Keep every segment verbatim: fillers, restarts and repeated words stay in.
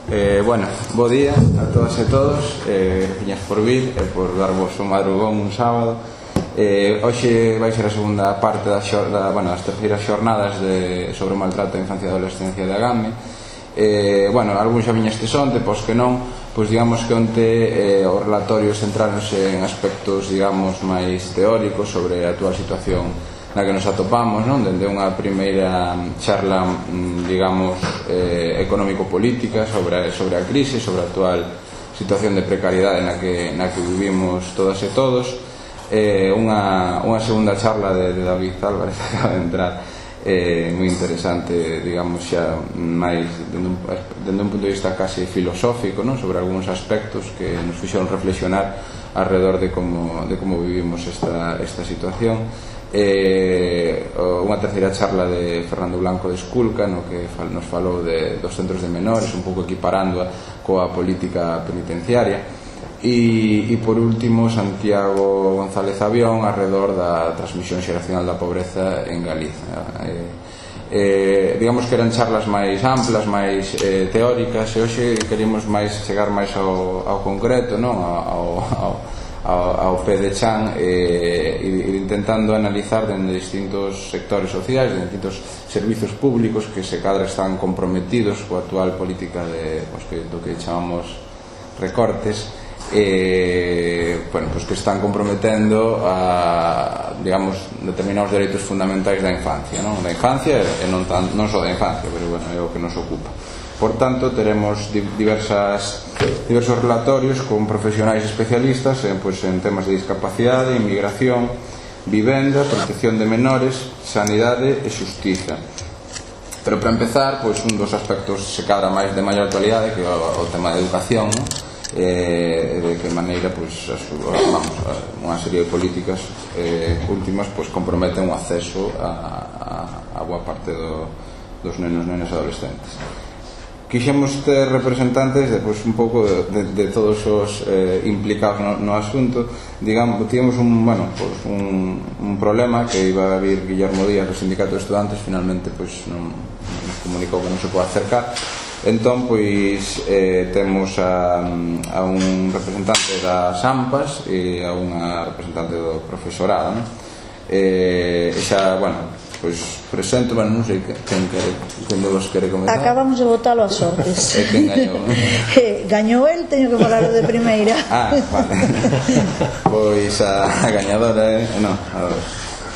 Eh, bueno, bo día a todas e todos, eh, gracias por vir e por darvos un madrugón un sábado. Eh, hoxe vai ser a segunda parte da, da, bueno, das terceiras xornadas de, sobre o maltrato da infancia e adolescencia de Agame. Eh, bueno, algún xa viña este sonte, pois que non, pois digamos que onte eh, os relatorios centráronse en aspectos, digamos, máis teóricos sobre a actual situación na que nos atopamos, non? Dende unha primeira charla, digamos, eh, económico-política sobre, sobre a crise, sobre a actual situación de precariedade na que, na que vivimos todas e todos, eh, unha, unha segunda charla de, de David Álvarez que acaba de entrar, eh, moi interesante, digamos, xa máis dende un, dende un punto de vista case filosófico, non? Sobre algúns aspectos que nos fixeron reflexionar alrededor de como, de como vivimos esta, esta situación. Eh, unha terceira charla de Fernando Blanco de Esculca, no que nos falou de, dos centros de menores, un pouco equiparando coa política penitenciaria, e, e por último Santiago González Avión alrededor da transmisión xeracional da pobreza en Galiza. eh, eh, digamos que eran charlas máis amplas, máis eh, teóricas, e hoxe queremos máis chegar máis ao, ao concreto, non? ao, ao ao pé de chan, e eh, intentando analizar dende distintos sectores sociais, de distintos servizos públicos que se cadra están comprometidos coa actual política de, pues, que, do que chamamos recortes, eh, bueno, pues que están comprometendo a, digamos, determinados dereitos fundamentais da infancia, non? Da infancia e non, tan, non só da infancia, pero bueno, é o que nos ocupa. Por tanto, teremos diversas, diversos relatorios con profesionais especialistas en, pues, en temas de discapacidade, inmigración, vivenda, protección de menores, sanidade e xustiza. Pero para empezar, pues, un dos aspectos se cadra máis de maior actualidade, que é o, o tema de educación, ¿no? eh, de que maneira, pues, as, vamos, unha serie de políticas eh, últimas, pues, comprometen o acceso a, a, a boa parte do, dos nenos, nenas e adolescentes. Quixemos ter representantes de, pues, un pouco de, de, de todos os eh, implicados no, no asunto. Digamos, tivemos un, bueno, pues, un, un problema que iba a vir Guillermo Díaz do Sindicato de Estudantes, finalmente pues, non, nos comunicou que non se pode acercar. Entón, pois, eh, temos a, a un representante das AMPAs e a unha representante do profesorado, non? E xa, bueno, pois presento, bueno, non sei quen quere, quen de vos quere comenzar. Acabamos de votalo a sortes. E quen gañou, non? Gañou el, teño que falar de primeira. Ah, vale. Pois a, a gañadora é, non, a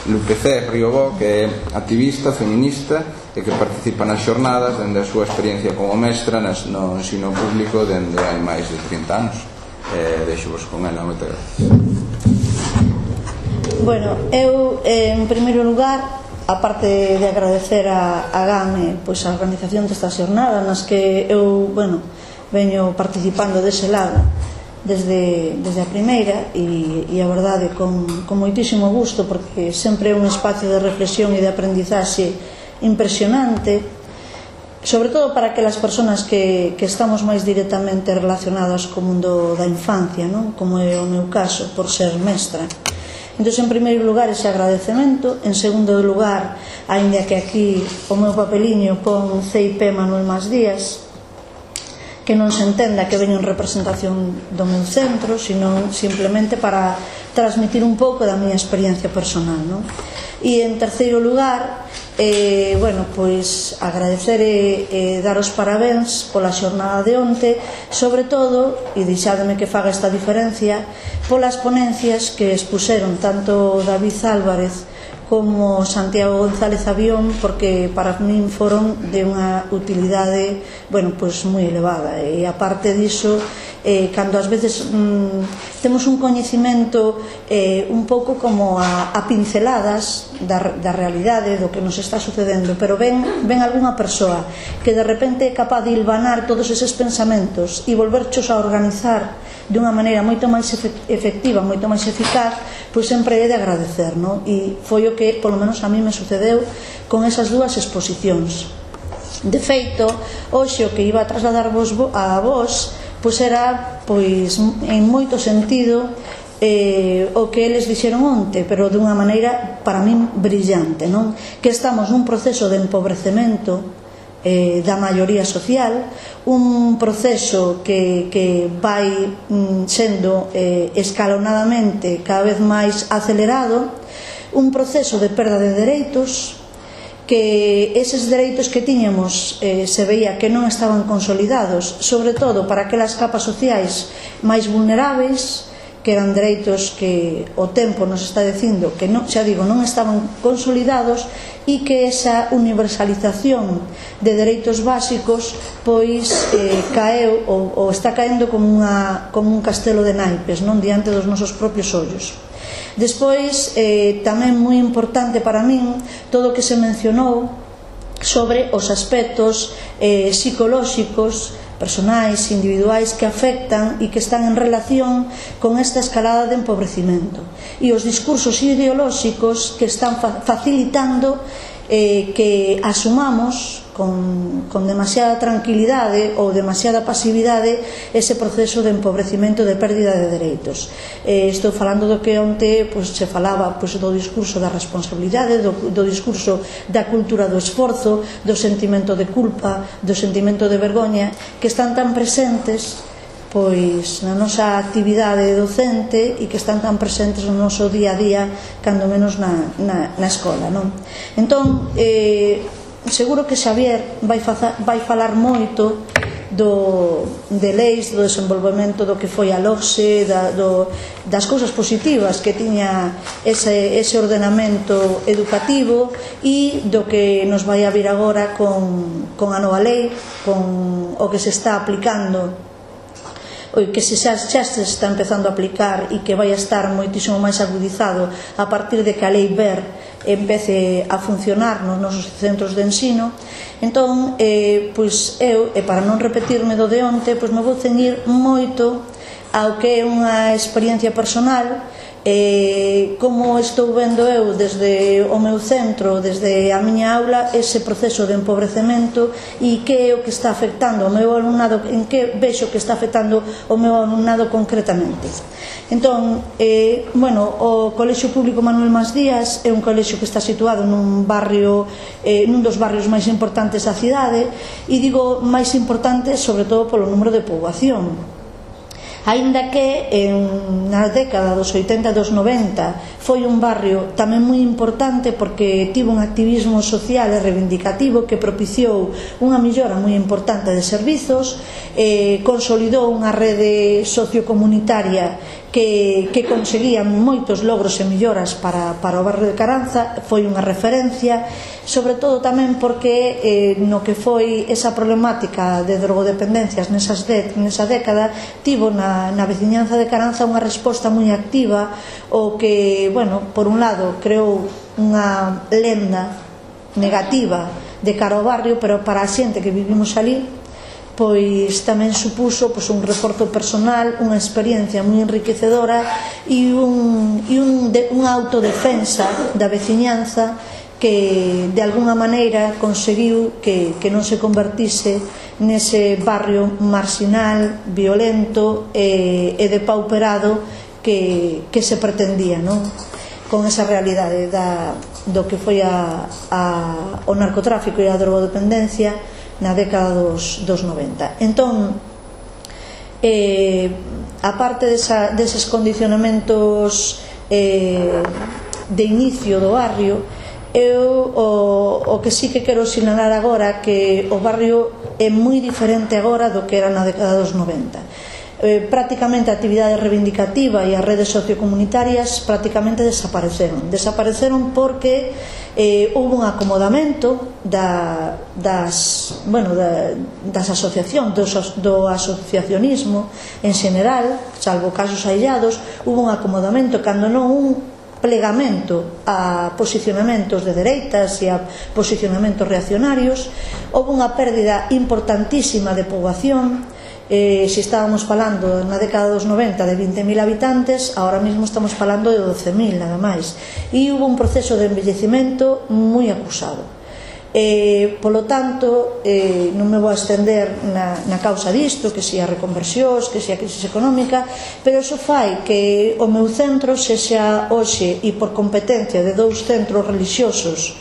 Lupe C. Riobó, que é activista, feminista e que participa nas xornadas dende a súa experiencia como mestra nas, no ensino público dende hai máis de trinta anos. Eh, deixo-vos con ela, moitas gracias. Bueno, eu, en primeiro lugar, aparte de agradecer a Agame, pois, a organización destas xornadas nas que eu, bueno, veño participando dese lado desde, desde a primeira, e, e a verdade con, con moitísimo gusto, porque sempre é un espacio de reflexión e de aprendizaxe impresionante, sobre todo para aquelas persoas que, que estamos máis directamente relacionadas co mundo da infancia, non? Como é o meu caso, por ser mestra. Entón, en primeiro lugar, ese agradecemento. En segundo lugar, aínda que aquí o meu papeliño pon C I P Manuel Mas Díaz, que non se entenda que veño en representación do meu centro, sino simplemente para transmitir un pouco da miña experiencia personal, non? E en terceiro lugar, eh, bueno, pois agradecer e eh, dar os parabéns pola xornada de onte, sobre todo, e deixádeme que faga esta diferencia, polas ponencias que expuseron tanto David Álvarez como Santiago González Avión, porque para min foron de unha utilidade, bueno, pois moi elevada. E aparte diso, eh, cando ás veces mm, temos un coñecimento eh, un pouco como a, a pinceladas da, da realidade, do que nos está sucedendo, pero ven, ven algunha persoa que de repente é capaz de hilvanar todos eses pensamentos e volverchos a organizar dunha maneira moito máis efectiva, moito máis eficaz, pois sempre é de agradecer, non? E foi o que, polo menos a mí, me sucedeu con esas dúas exposicións. De feito, hoxe o que iba a trasladarvos a vos, pois era, pois, en moito sentido, eh, o que eles dixeron onte, pero dunha maneira, para min, brillante, non? Que estamos nun proceso de empobrecemento eh, da maioría social, un proceso que, que vai mm, sendo eh, escalonadamente cada vez máis acelerado, un proceso de perda de dereitos, que eses dereitos que tiñamos eh, se veía que non estaban consolidados, sobre todo para aquelas capas sociais máis vulneráveis, que eran dereitos que o tempo nos está dicindo que non, xa digo, non estaban consolidados, e que esa universalización de dereitos básicos pois eh, caeu ou, ou está caendo como, unha, como un castelo de naipes, non, diante dos nosos propios ollos. Despois, eh, tamén moi importante para min todo o que se mencionou sobre os aspectos eh, psicolóxicos, personais, individuais que afectan e que están en relación con esta escalada de empobrecimento e os discursos ideolóxicos que están facilitando eh, que asumamos con, con demasiada tranquilidade ou demasiada pasividade ese proceso de empobrecimento, de pérdida de dereitos. Eh, estou falando do que onte pues, se falaba pues, do discurso da responsabilidade, do, do discurso da cultura do esforzo, do sentimento de culpa, do sentimento de vergoña, que están tan presentes pois na nosa actividade docente e que están tan presentes no noso día a día, cando menos na, na, na escola, non? Entón, eh, seguro que Xavier vai, faza, vai falar moito do, de leis, do desenvolvemento do que foi a LOGSE, da, do, das cousas positivas que tiña ese, ese ordenamento educativo e do que nos vai a vir agora con, con a nova lei, con o que se está aplicando, que se xa, xa se está empezando a aplicar e que vai a estar moitísimo máis agudizado a partir de que a lei B E R empece a funcionar nos nosos centros de ensino. Entón, eh, pois eu, e para non repetirme do de onte, pois me vou ceñir moito ao que é unha experiencia personal, eh, como estou vendo eu desde o meu centro, desde a miña aula, ese proceso de empobrecemento e que é o que está afectando o meu alumnado, en que vexo que está afectando o meu alumnado concretamente. Entón, eh, bueno, o Colexio Público Manuel Mas Díaz é un colexio que está situado nun barrio, eh, nun dos barrios máis importantes da cidade, e digo máis importante sobre todo polo número de poboación. Aínda que en, na década dos oitenta e dos noventa foi un barrio tamén moi importante porque tivo un activismo social e reivindicativo que propiciou unha millora moi importante de servizos, eh, consolidou unha rede sociocomunitaria que, que conseguían moitos logros e melloras para, para o barrio de Caranza, foi unha referencia, sobre todo tamén porque eh, no que foi esa problemática de drogodependencias nesas de, nesa década tivo na, na veciñanza de Caranza unha resposta moi activa, o que, bueno, por un lado creou unha lenda negativa de cara ao barrio, pero para a xente que vivimos ali pois tamén supuso pois, un reforzo personal, unha experiencia moi enriquecedora e, un, e un, de, unha autodefensa da veciñanza que de alguna maneira conseguiu que, que non se convertise nese barrio marxinal, violento e, e depauperado que, que se pretendía, non? Con esa realidade da, do que foi a, a, o narcotráfico e a drogodependencia na década dos, dos noventa. Entón, eh, aparte desa, deses condicionamentos eh, de inicio do barrio, eu o, o que sí que quero sinalar agora que o barrio é moi diferente agora do que era na década dos noventa. Eh, prácticamente a actividade reivindicativa e as redes sociocomunitarias prácticamente desapareceron. Desapareceron porque eh, houve un acomodamento da, das, bueno, da, das asociacións, do, do asociacionismo en xeral, salvo casos aillados, houve un acomodamento, cando non un plegamento a posicionamentos de dereitas e a posicionamentos reaccionarios. Houve unha pérdida importantísima de poboación. Eh, se estábamos falando na década dos noventa de vinte mil habitantes, ahora mesmo estamos falando de doce mil nada máis, e hubo un proceso de envellecimento moi acusado. Eh, polo tanto, eh, non me vou a estender na, na causa disto, que se a reconversións, que se a crisis económica, pero iso fai que o meu centro sexa hoxe, e por competencia de dous centros religiosos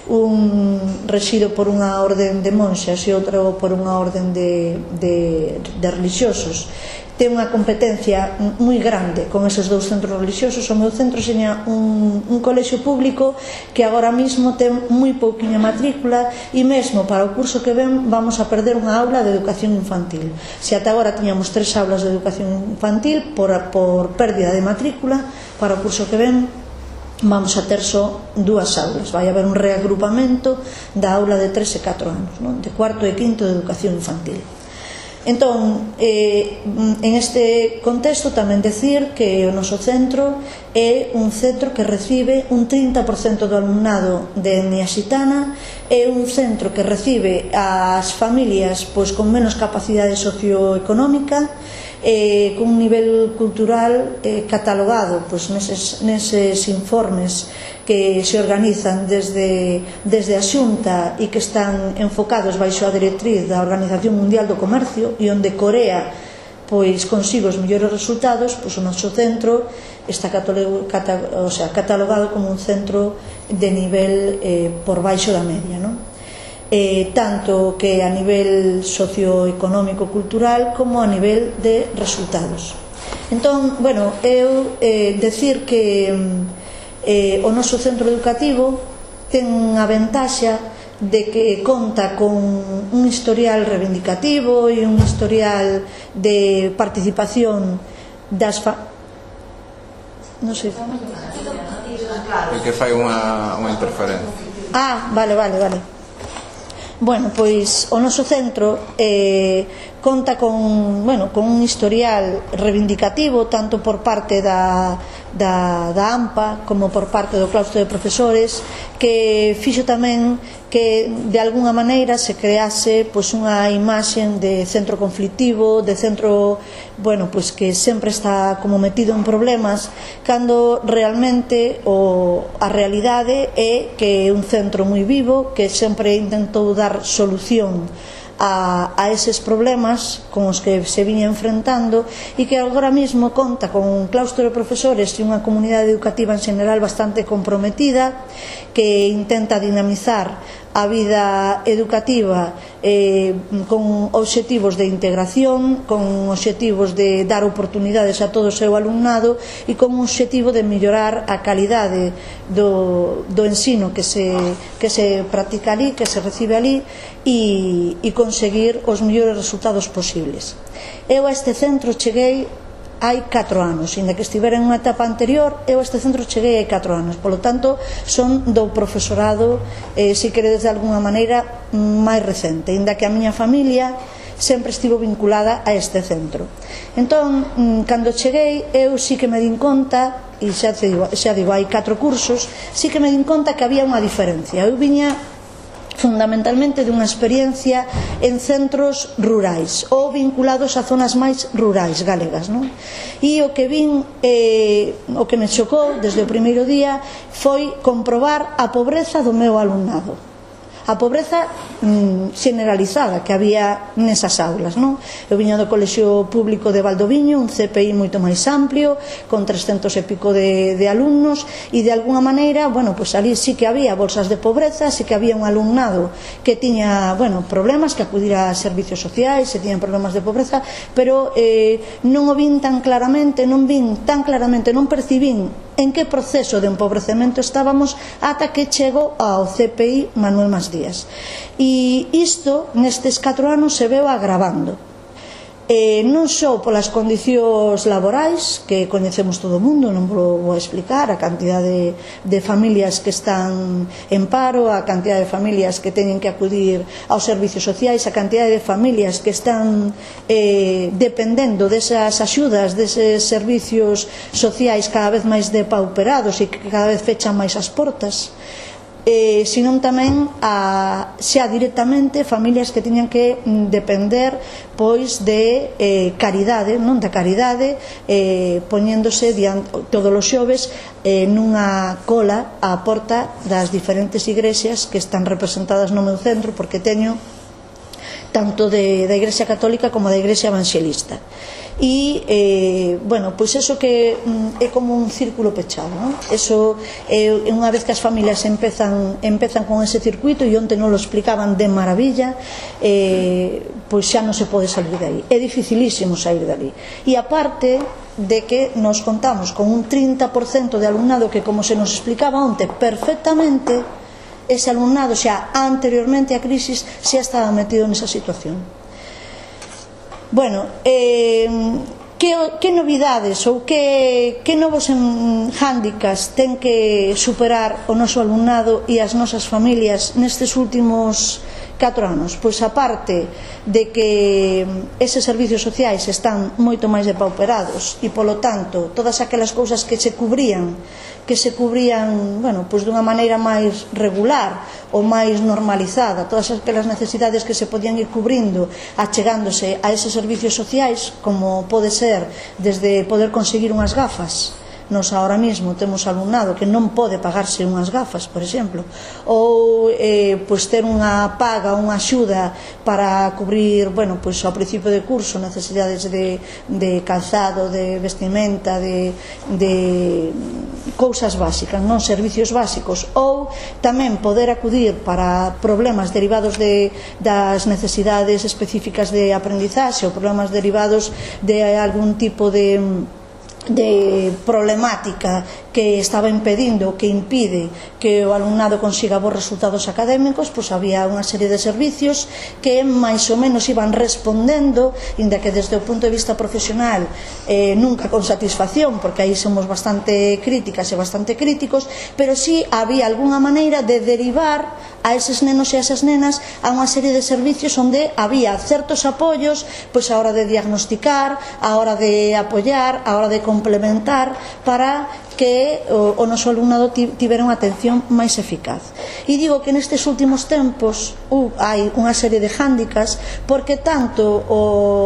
un rexido por unha orden de monxas e outro por unha orden de, de, de religiosos, ten unha competencia moi grande con eses dous centros religiosos. O meu centro seña un, un colexio público que agora mismo ten moi pouquiña matrícula e mesmo para o curso que ven vamos a perder unha aula de educación infantil. Se ata agora tiñamos tres aulas de educación infantil por, por pérdida de matrícula, para o curso que ven vamos a ter só dúas aulas. Vai haber un reagrupamento da aula de tres e catro anos, non? De cuarto e quinto de educación infantil. Entón, eh, en este contexto tamén decir que o noso centro é un centro que recibe un trinta por cento do alumnado de etnia xitana, é un centro que recibe as familias pois con menos capacidade socioeconómica, eh, con un nivel cultural eh, catalogado pois neses, neses informes que se organizan desde, desde a Xunta e que están enfocados baixo a directriz da Organización Mundial do Comercio, e onde Corea pois consigo os mellores resultados, pois o noso centro está catalogado, o sea, catalogado como un centro de nivel eh, por baixo da media, non? Eh, tanto que a nivel socioeconómico cultural como a nivel de resultados. Entón, bueno, eu eh, decir que eh, o noso centro educativo ten a ventaxa de que conta con un historial reivindicativo e un historial de participación das fa... non sei, o que fai unha, unha interferencia. Ah, vale, vale, vale. Bueno, pois o noso centro eh, conta con, bueno, con un historial reivindicativo tanto por parte da, da, da AMPA como por parte do claustro de profesores, que fixo tamén que de alguna maneira se crease pois unha imaxe de centro conflictivo, de centro, bueno, pois que sempre está como metido en problemas, cando realmente o, a realidade é que é un centro moi vivo, que sempre intentou dar solución A, a eses problemas con os que se viña enfrentando, e que agora mesmo conta con un claustro de profesores e unha comunidade educativa en general bastante comprometida, que intenta dinamizar a vida educativa eh, con obxectivos de integración, con obxectivos de dar oportunidades a todo o seu alumnado e con un obxectivo de mellorar a calidade do, do ensino que se, que se practica ali, que se recibe ali, e, e conseguir os mellores resultados posibles. Eu a este centro cheguei hai catro anos, inda que estivera en unha etapa anterior, eu a este centro cheguei hai catro anos, polo tanto son do profesorado, eh, se queredes de alguna maneira, máis recente, inda que a miña familia sempre estivo vinculada a este centro. Entón, cando cheguei, eu sí que me din conta, e xa digo, xa digo hai catro cursos, sí que me din conta que había unha diferencia. Eu viña fundamentalmente dunha experiencia en centros rurais ou vinculados a zonas máis rurais galegas, non? E o que vin, eh, o que me chocou desde o primeiro día foi comprobar a pobreza do meu alumnado, a pobreza mm, generalizada que había nesas aulas, non? Eu viña do colexio público de Valdoviño, un C P I moito máis amplio, con trescentos e pico de, de alumnos, e de alguna maneira, bueno, pois ali sí que había bolsas de pobreza, sí que había un alumnado que tiña, bueno, problemas, que acudira a servicios sociais, se tiñan problemas de pobreza, pero eh, non o vin tan claramente, non vin tan claramente, non percibín en que proceso de empobrecemento estábamos ata que chego ao C P I Manuel Mas Díaz. E isto nestes catro anos se veu agravando, eh, non só polas condicións laborais que coñecemos todo o mundo, non vou, vou explicar a cantidade de, de familias que están en paro, a cantidade de familias que teñen que acudir aos servicios sociais, a cantidade de familias que están eh, dependendo desas axudas, deses servicios sociais cada vez máis depauperados e que cada vez fechan máis as portas, eh, senón tamén a, xa directamente familias que tiñan que depender pois de eh, caridade, non da caridade, eh, poñéndose diante, todos os xoves eh, nunha cola á porta das diferentes igrexas que están representadas no meu centro, porque teño tanto de, da Igrexa Católica como da Igrexa Evangelista. e, eh, bueno, pois eso que mm, é como un círculo pechado, non? Eso, eh, unha vez que as familias empezan, empezan con ese circuito, e onte non lo explicaban de maravilla, eh, pois xa non se pode salir de aí, é dificilísimo sair de ali. E aparte de que nos contamos con un trinta por cento de alumnado que, como se nos explicaba onte perfectamente, ese alumnado xa anteriormente á crisis xa estaba metido nesa situación. Bueno, eh, que, que novidades ou que, que novos hándicaps ten que superar o noso alumnado e as nosas familias nestes últimos catro anos? Pois aparte de que eses servicios sociais están moito máis depauperados e polo tanto todas aquelas cousas que se cubrían que se cubrían, bueno, pois dunha maneira máis regular ou máis normalizada, todas aquelas necesidades que se podían ir cubrindo achegándose a eses servicios sociais, como pode ser desde poder conseguir unhas gafas. Nos ahora mismo temos alumnado que non pode pagarse unhas gafas, por exemplo, ou eh, pois ter unha paga, unha axuda para cubrir, bueno, pois ao principio de curso necesidades de, de calzado, de vestimenta, de, de cousas básicas, non servicios básicos, ou tamén poder acudir para problemas derivados de, das necesidades específicas de aprendizaxe ou problemas derivados de algún tipo de de problemática que estaba impedindo, que impide que o alumnado consiga bons resultados académicos, pois había unha serie de servicios que máis ou menos iban respondendo, inda que desde o punto de vista profesional eh, nunca con satisfacción, porque aí somos bastante críticas e bastante críticos, pero sí había algunha maneira de derivar a eses nenos e a esas nenas a unha serie de servicios onde había certos apoios, pois a hora de diagnosticar, a hora de apoiar, a hora de complementar, para que o, o noso alumnado tivera unha atención máis eficaz. E digo que nestes últimos tempos uh, hai unha serie de hándicaps, porque tanto o,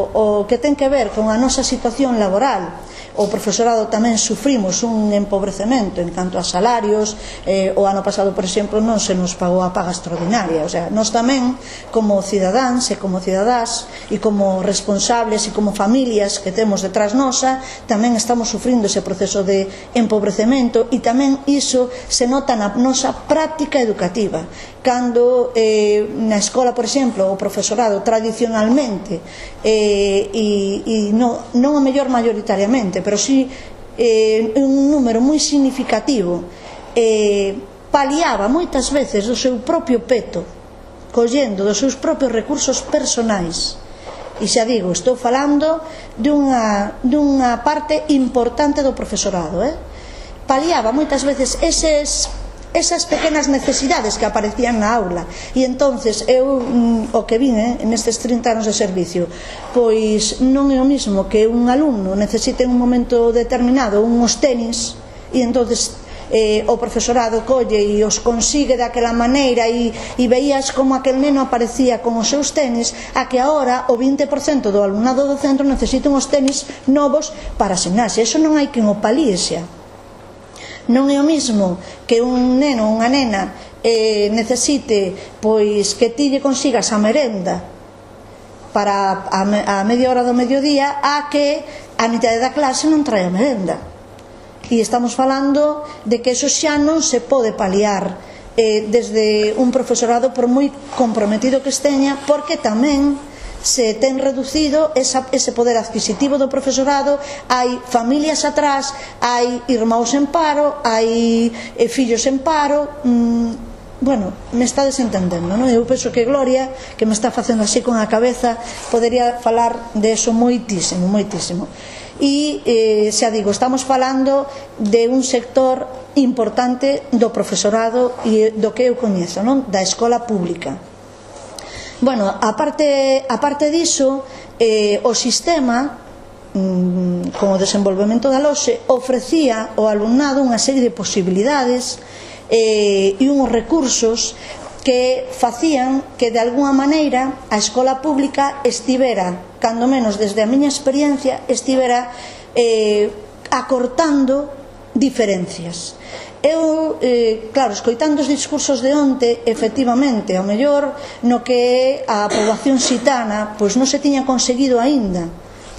o que ten que ver con a nosa situación laboral, o profesorado tamén sufrimos un empobrecemento en canto a salarios. Eh, o ano pasado, por exemplo, non se nos pagou a paga extraordinaria. O sea, nós tamén, como cidadáns e como cidadás e como responsables e como familias que temos detrás nosa, tamén estamos sufrindo ese proceso de empobrecemento, e tamén iso se nota na nosa práctica educativa. Cando eh, na escola, por exemplo, o profesorado tradicionalmente eh, e, e non, non o mellor mayoritariamente, pero sí eh, un número moi significativo eh, paliaba moitas veces do seu propio peto, collendo dos seus propios recursos personais. E xa digo, estou falando dunha, dunha parte importante do profesorado, eh? Paliaba moitas veces eses esas pequenas necesidades que aparecían na aula. E entonces eu mm, o que vin eh, nestes trinta anos de servicio, pois non é o mismo que un alumno necesite en un momento determinado unhos tenis, e entonces eh, o profesorado colle e os consigue daquela maneira, e, e veías como aquel neno aparecía con os seus tenis, a que agora o vinte por cento do alumnado do centro necesita uns tenis novos para asinarse. Eso non hai quen o palíe xa. Non é o mismo que un neno ou unha nena eh, necesite pois que ti lle consigas a merenda para a, a media hora do mediodía, a que a mitad da clase non trae a merenda. E estamos falando de que eso xa non se pode paliar eh, desde un profesorado, por moi comprometido que esteña, porque tamén se ten reducido esa, ese poder adquisitivo do profesorado. Hai familias atrás, hai irmãos en paro, hai eh, fillos en paro. mm, bueno, me está desentendendo, non? Eu penso que Gloria, que me está facendo así con a cabeza, podería falar de eso moitísimo, moitísimo. E eh, xa digo, estamos falando de un sector importante do profesorado e do que eu coñezo, non? Da escola pública. Bueno, aparte, aparte diso, eh, o sistema, mmm, con o desenvolvemento da LOSE, ofrecía ao alumnado unha serie de posibilidades eh, e uns recursos que facían que de alguna maneira a escola pública estivera, cando menos desde a miña experiencia, estivera eh, acortando diferencias. Eu, eh, claro, escoitando os discursos de onte, efectivamente, ao mellor no que a poboación xitana pois non se tiña conseguido aínda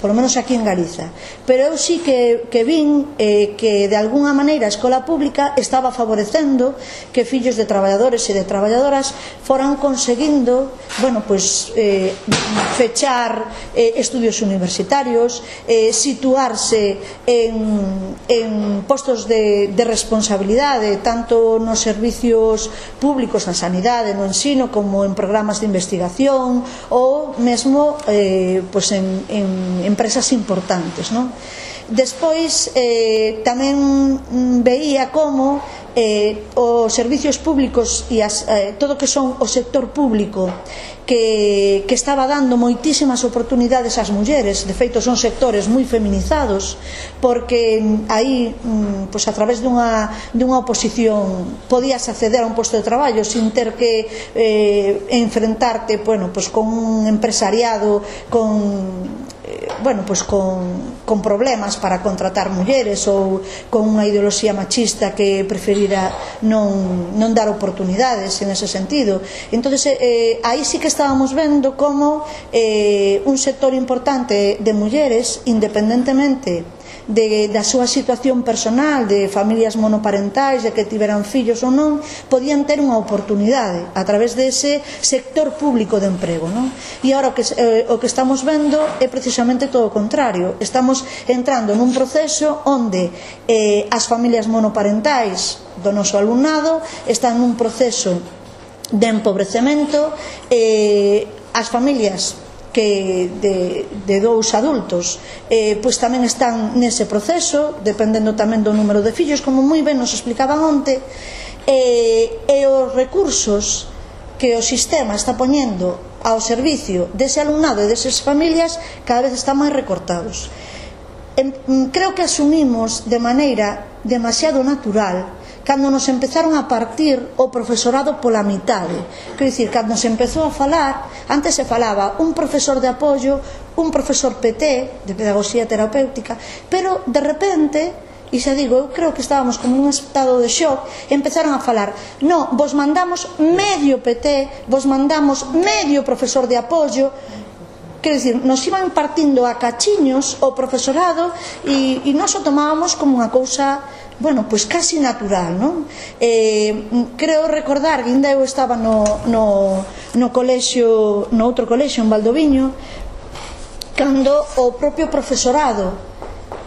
polo menos aquí en Galiza. Pero eu sí que, que vin eh, que de alguna maneira a escola pública estaba favorecendo que fillos de traballadores e de traballadoras foran conseguindo, bueno, pues eh, fechar eh, estudios universitarios, eh, situarse en, en postos de, de responsabilidade, tanto nos servicios públicos, na sanidade, no ensino, como en programas de investigación ou mesmo eh, pues en, en empresas importantes, non? Despois eh, tamén veía como eh, os servicios públicos e as, eh, todo o que son o sector público que, que estaba dando moitísimas oportunidades ás mulleres. De feito son sectores moi feminizados, porque aí pues, a través dunha, dunha oposición podías acceder a un posto de traballo sin ter que eh, enfrentarte bueno, pues, con un empresariado con bueno, pues con, con problemas para contratar mulleres ou con unha ideoloxía machista que preferira non, non dar oportunidades en ese sentido. Entón, eh, aí sí que estábamos vendo como eh, un sector importante de mulleres, independentemente de, da súa situación personal, de familias monoparentais, de que tiveran fillos ou non, podían ter unha oportunidade a través dese sector público de emprego, non? E agora o que, eh, o que estamos vendo é precisamente todo o contrario. Estamos entrando nun proceso onde eh, as familias monoparentais do noso alumnado están nun proceso de empobrecemento, eh, as familias que de, de dous adultos eh, pois tamén están nese proceso, dependendo tamén do número de fillos, como moi ben nos explicaban onte, eh, e os recursos que o sistema está poñendo ao servicio dese alumnado e desas familias cada vez están máis recortados. En, creo que asumimos de maneira demasiado natural cando nos empezaron a partir o profesorado pola mitade. Quero dicir, cando se empezou a falar, antes se falaba un profesor de apoio, un profesor P T, de pedagogía terapéutica, pero de repente, e xa digo, eu creo que estábamos como nun estado de shock, empezaron a falar, no, vos mandamos medio P T, vos mandamos medio profesor de apoio. Quero dicir, nos iban partindo a cachiños o profesorado e, e nos o tomábamos como unha cousa, bueno, pois casi natural, non? Eh, creo recordar que ainda eu estaba no, no, no colexio, no outro colexio en Valdoviño, cando o propio profesorado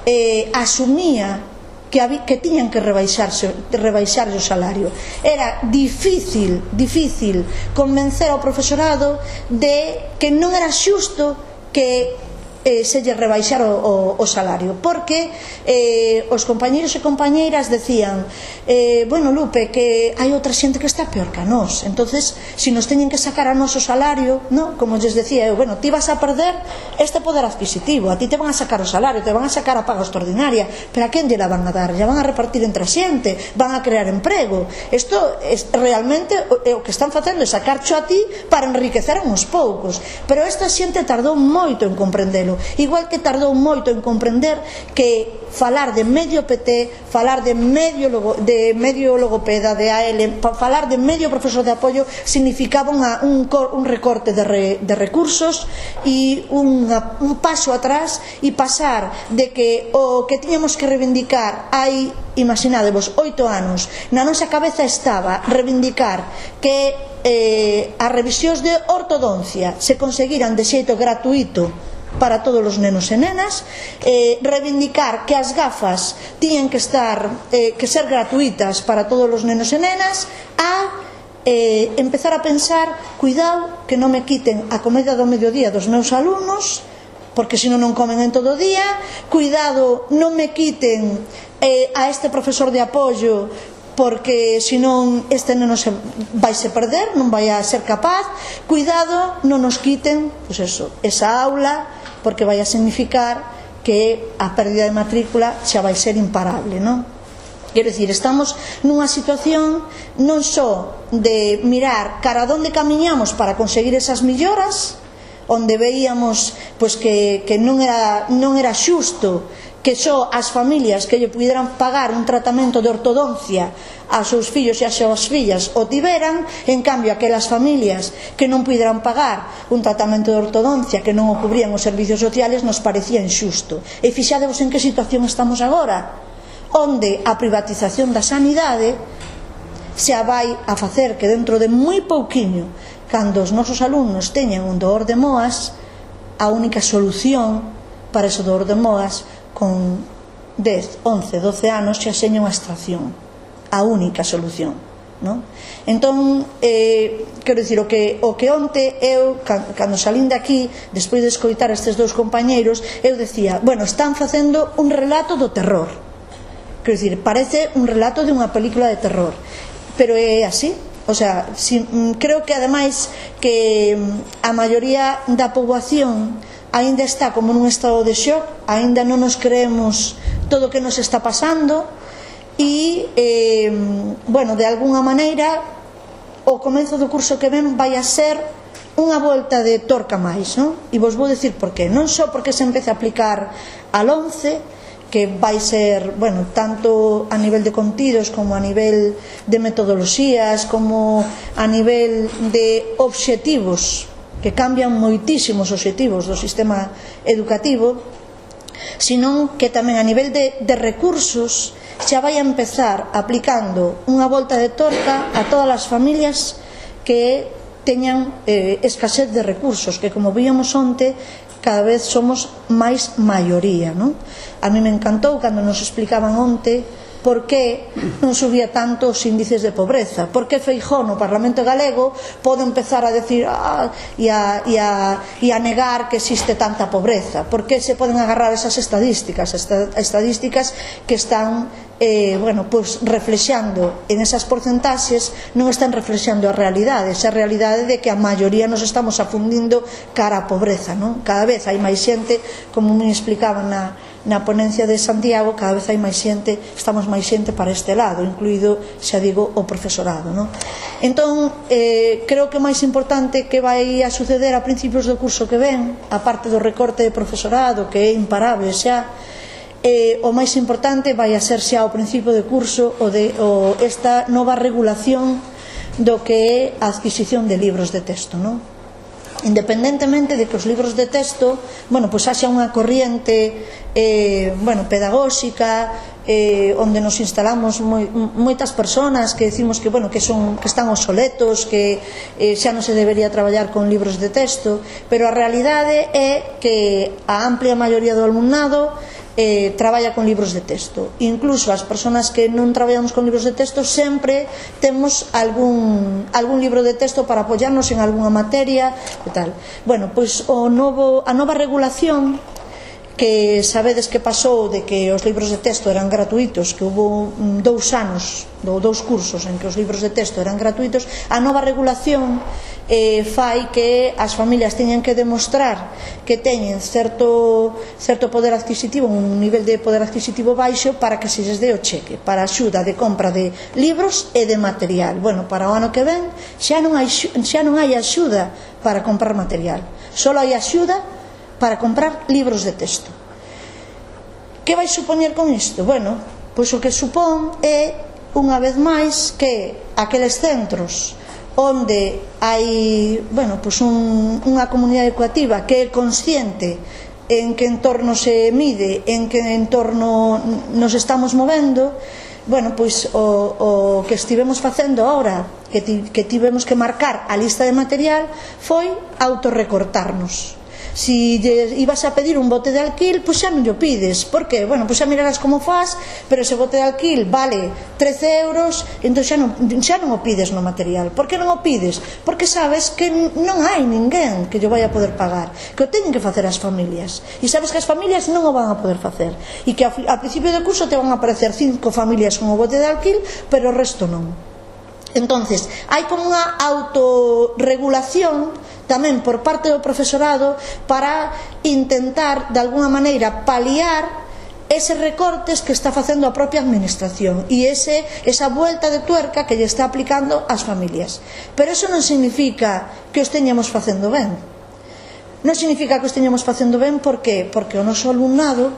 eh, asumía que, había, que tiñan que rebaixarse, rebaixarse o salario. Era difícil, difícil convencer ao profesorado de que non era xusto que eh, se lle rebaixar o, o, o salario, porque eh, os compañeiros e compañeiras decían eh, bueno, Lupe, que hai outra xente que está peor que a nós, entonces se nos teñen que sacar a noso salario, no? Como lles decía eu, bueno, ti vas a perder este poder adquisitivo, a ti te van a sacar o salario, te van a sacar a paga extraordinaria, pero a quen lle la van a dar? Ya van a repartir entre a xente, van a crear emprego. Isto es, realmente o, o que están facendo é sacarcho a ti para enriquecer a uns poucos, pero esta xente tardou moito en comprendelo, igual que tardou moito en comprender que falar de medio P T, falar de medio, logo, de medio logopeda, de A L, falar de medio profesor de apoio significaba unha, un, un recorte de, re, de recursos e unha, un paso atrás, e pasar de que o que tiñamos que reivindicar hai, imaginadevos, oito anos, na nosa cabeza estaba reivindicar que eh, as revisións de ortodoncia se conseguiran de xeito gratuito para todos os nenos e nenas, eh, reivindicar que as gafas tiñen que estar eh, que ser gratuitas para todos os nenos e nenas, a eh, empezar a pensar, cuidado que non me quiten a comida do mediodía dos meus alumnos, porque senón non comen en todo o día, cuidado non me quiten eh, a este profesor de apoio, porque senón este neno se vai se perder, non vai a ser capaz, cuidado non nos quiten pues eso, esa aula, porque vai a significar que a pérdida de matrícula xa vai ser imparable, non? Quero dicir, estamos nunha situación non só de mirar cara a onde camiñamos para conseguir esas melloras, onde veíamos pois, que, que non, era, non era xusto que só as familias que lle puderan pagar un tratamento de ortodoncia aos seus fillos e ás súas fillas o tiveran, en cambio aquelas familias que non puderan pagar un tratamento de ortodoncia, que non o cubrían os servicios sociales, nos parecía injusto. E fixadevos en que situación estamos agora, onde a privatización da sanidade xa vai a facer que dentro de moi pouquiño, cando os nosos alumnos teñan un dor de moas, a única solución para ese dor de moas con dez, once, doce anos xa seña unha extracción, a única solución, non? Entón, eh, quero dicir, o que, o que onte eu, cando salín de aquí, despois de escoitar estes dous compañeiros, eu decía, bueno, están facendo un relato do terror, quero dicir, parece un relato de unha película de terror, pero é así. O sea, si, creo que ademais que a maioría da poboación aínda está como nun estado de shock, aínda non nos creemos todo o que nos está pasando e, eh, bueno, de alguna maneira o comezo do curso que ven vai a ser unha volta de torca máis, non? E vos vou decir por qué. Non só porque se empece a aplicar al once, que vai ser, bueno, tanto a nivel de contidos como a nivel de metodoloxías, como a nivel de obxectivos, que cambian moitísimos obxectivos do sistema educativo, senón que tamén a nivel de, de recursos xa vai a empezar aplicando unha volta de torca a todas as familias que teñan eh, escasez de recursos, que como víamos onte, cada vez somos máis maioría, non? A mí me encantou cando nos explicaban onte por que non subía tanto os índices de pobreza, por que Feijóo no Parlamento Galego pode empezar a decir ah, e, a, e, a, e a negar que existe tanta pobreza, por que se poden agarrar esas estadísticas, estadísticas que están eh, bueno, pues reflexando en esas porcentaxes, non están reflexando a realidade, esa realidade de que a maioría nos estamos afundindo cara á pobreza, non? Cada vez hai máis xente, como me explicaban na na ponencia de Santiago, cada vez hai máis xente, estamos máis xente para este lado, incluído, xa digo, o profesorado, non? Entón, eh, creo que o máis importante que vai a suceder a principios do curso que ven, a parte do recorte de profesorado, que é imparable xa, eh, o máis importante vai a ser xa ao principio de curso o de, o, esta nova regulación do que é a adquisición de libros de texto, non? Independentemente de que os libros de texto, bueno, pois haxa unha corriente eh, bueno, pedagóxica eh, onde nos instalamos moi, moitas persoas que decimos que, bueno, que, son, que están obsoletos, que eh, xa non se debería traballar con libros de texto, pero a realidade é que a amplia maioría do alumnado Eh, traballa con libros de texto. Incluso as persoas que non traballamos con libros de texto sempre temos algún, algún libro de texto para apoyarnos en algunha materia e tal. Bueno, pois o novo, a nova regulación, que sabedes que pasou de que os libros de texto eran gratuitos, que hubo dous anos, dous cursos en que os libros de texto eran gratuitos, a nova regulación eh, fai que as familias teñan que demostrar que teñen certo, certo poder adquisitivo, un nivel de poder adquisitivo baixo, para que se lles dé o cheque para a axuda de compra de libros e de material. Bueno, para o ano que ven xa non hai, xa non hai axuda para comprar material, só hai axuda para comprar libros de texto. Que vai supoñer con isto? Bueno, pois o que supón é, unha vez máis, que aqueles centros onde hai, bueno, pois un, unha comunidade educativa que é consciente en que entorno se mide, en que entorno nos estamos movendo, bueno, pois o, o que estivemos facendo agora, que, ti, que tivemos que marcar a lista de material, foi autorrecortarnos. Si ibas a pedir un bote de alquil, pois xa non o pides. Por que? Bueno, pois xa mirarás como faz, pero ese bote de alquil vale trece euros, entón xa non, xa non o pides no material. Por que non o pides? Porque sabes que non hai ninguén que yo vai a poder pagar, que o teñen que facer as familias, e sabes que as familias non o van a poder facer, e que ao principio do curso te van a aparecer cinco familias con o bote de alquil, pero o resto non. Entonces, hai como unha autorregulación tamén por parte do profesorado para intentar, de alguna maneira, paliar eses recortes que está facendo a propia administración e ese, esa vuelta de tuerca que lle está aplicando ás familias. Pero eso non significa que os teñamos facendo ben. Non significa que os teñamos facendo ben, por que? Porque o noso alumnado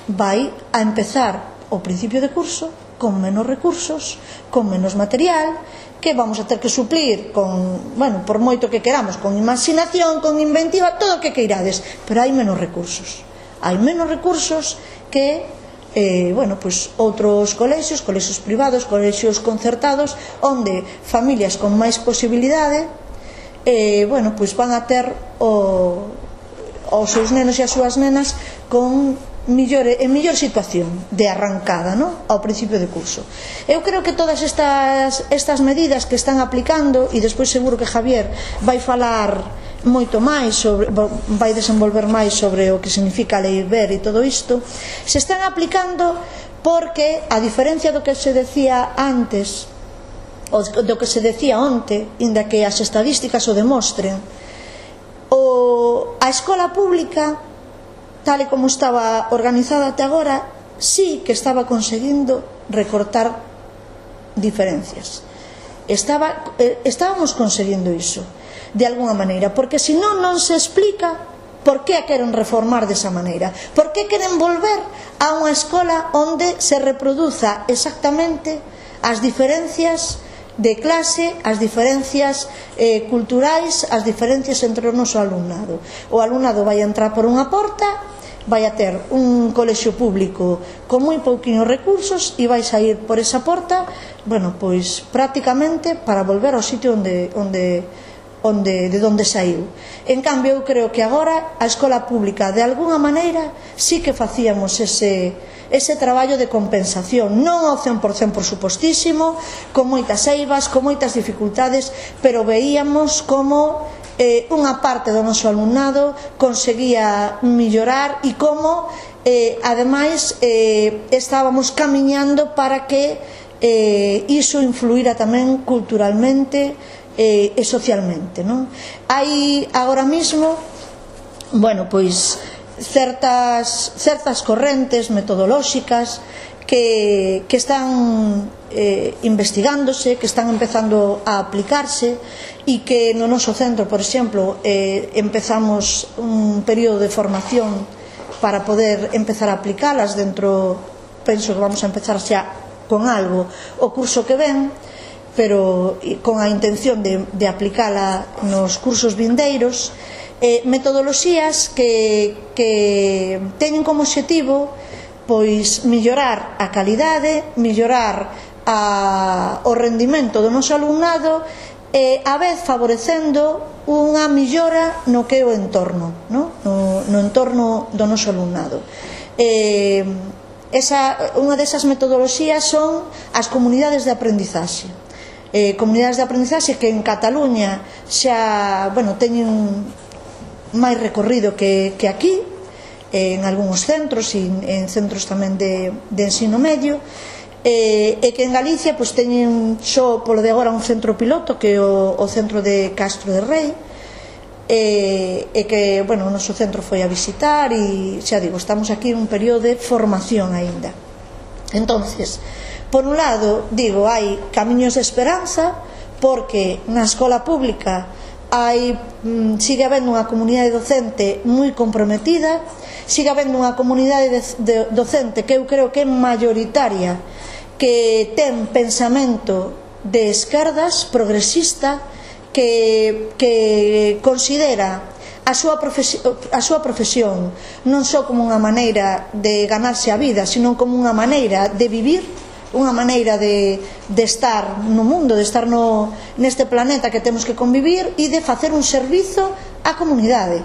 vai a empezar o principio de curso con menos recursos, con menos material, que vamos a ter que suplir con, bueno, por moito que queramos, con imaginación, con inventiva, todo o que queirades, pero hai menos recursos. Hai menos recursos que eh, bueno, pues, outros colexios, colexios privados, colexios concertados, onde familias con máis posibilidade eh, bueno, pues, van a ter o, os seus nenos e as súas nenas con millor, en millor situación de arrancada, ¿no?, ao principio de curso. Eu creo que todas estas, estas medidas que están aplicando, e despois seguro que Javier vai falar moito máis sobre, vai desenvolver máis sobre o que significa a Lei Wert e todo isto, se están aplicando porque, a diferencia do que se decía antes, ou do que se decía onte, inda que as estadísticas o demostren, o, a escola pública, tal e como estaba organizada até agora, sí que estaba conseguindo recortar diferencias. Estaba, eh, estábamos conseguindo iso de alguna maneira, porque senón non se explica por que a queren reformar desa maneira, por que queren volver a unha escola onde se reproduza exactamente as diferencias de clase, as diferencias eh, culturais, as diferencias entre o noso alumnado. O alumnado vai entrar por unha porta, vai a ter un colexio público con moi pouquiños recursos e vai sair por esa porta, bueno, pois prácticamente para volver ao sitio onde, onde, onde, de onde saiu. En cambio, eu creo que agora a escola pública, de alguna maneira, sí que facíamos ese, ese traballo de compensación, non ao cen por cen por supostísimo, con moitas eivas, con moitas dificultades, pero veíamos como eh, unha parte do noso alumnado conseguía mellorar e como eh, ademais eh, estábamos camiñando para que eh, iso influíra tamén culturalmente eh, e socialmente, non? Hai agora mismo, bueno, pois certas, certas correntes metodolóxicas que, que están eh, investigándose, que están empezando a aplicarse e que no noso centro, por exemplo, eh, empezamos un período de formación para poder empezar a aplicalas dentro, penso que vamos a empezar xa con algo o curso que ven, pero con a intención de, de aplicala nos cursos vindeiros, eh, metodoloxías que, que teñen como obxectivo pois mellorar a calidade, mellorar a, o rendimento do noso alumnado e a vez favorecendo unha millora no que é o entorno, no, no, no entorno do noso alumnado. Eh, esa, unha desas metodoloxías son as comunidades de aprendizaxe. Eh, comunidades de aprendizaxe que en Cataluña xa, bueno, teñen máis recorrido que, que aquí, eh, en algúns centros e en centros tamén de, de ensino medio, e, e que en Galicia pois, teñen só polo de agora un centro piloto que é o, o centro de Castro de Rei, e, e que, bueno, o noso centro foi a visitar e, xa digo, estamos aquí en un período de formación aínda. Entonces, por un lado, digo, hai camiños de esperanza porque na escola pública hai, sigue habendo unha comunidade docente moi comprometida, sigue habendo unha comunidade de, de, docente que eu creo que é mayoritaria, que ten pensamento de esquerdas, progresista, que, que considera a súa, profesión, a súa profesión non só como unha maneira de ganarse a vida, sino como unha maneira de vivir, unha maneira de, de estar no mundo, de estar no, neste planeta que temos que convivir e de facer un servizo á comunidade.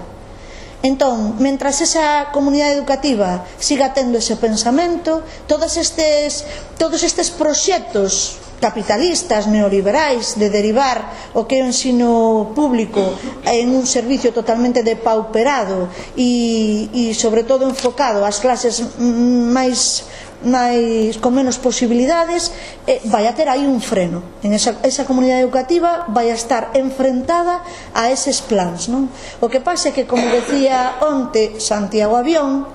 Entón, mentras esa comunidade educativa siga tendo ese pensamento, todos estes, todos estes proxectos capitalistas, neoliberais, de derivar o que é o ensino público en un servicio totalmente depauperado e, e sobre todo enfocado ás clases máis, máis con menos posibilidades, eh, vai a ter aí un freno. En esa, esa comunidade educativa vai a estar enfrentada a eses plans, non? O que pasa é que, como decía onte Santiago Avión,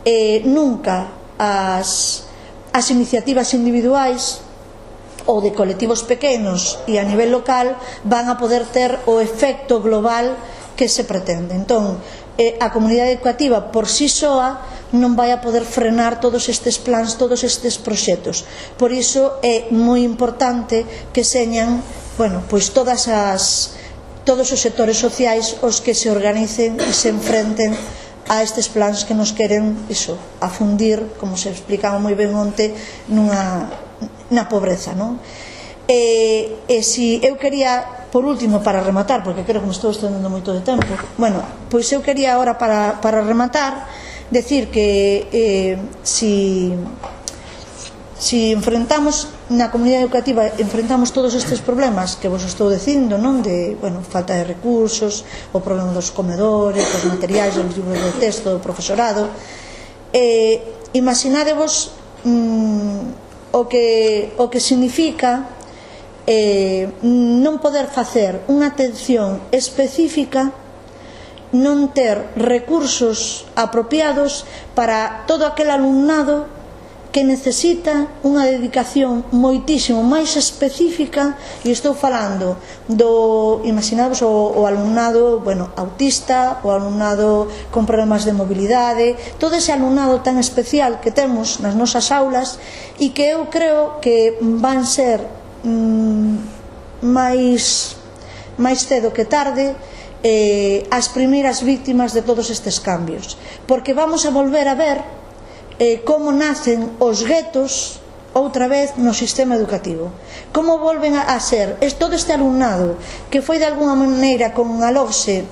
eh, nunca as, as iniciativas individuais ou de colectivos pequenos e a nivel local van a poder ter o efecto global que se pretende. Entón, a comunidade educativa por si soa non vai a poder frenar todos estes plans, todos estes proxectos. Por iso é moi importante que señan, bueno, pois todas as todos os sectores sociais os que se organicen e se enfrenten a estes plans que nos queren iso, afundir, como se explicaba moi ben onte, nunha, na pobreza, non? E, e si eu quería, por último, para rematar, porque creo que me estou estendendo moito de tempo, bueno, pois eu quería agora para, para rematar decir que eh, si si enfrentamos na comunidade educativa, enfrentamos todos estes problemas que vos estou dicindo, non, de, bueno, falta de recursos, o problema dos comedores, dos materiais, dos libros de texto, do profesorado, eh, imaginadevos mm, o que o que significa eh, non poder facer unha atención específica, non ter recursos apropiados para todo aquel alumnado que necesita unha dedicación moitísimo máis específica, e estou falando do, imaginamos, o, o alumnado, bueno, autista, o alumnado con problemas de mobilidade, todo ese alumnado tan especial que temos nas nosas aulas e que eu creo que van ser mm, máis máis cedo que tarde eh, as primeiras víctimas de todos estes cambios, porque vamos a volver a ver Eh, como nacen os guetos outra vez no sistema educativo, como volven a, a ser es, todo este alumnado que foi de alguna maneira con a LOGSE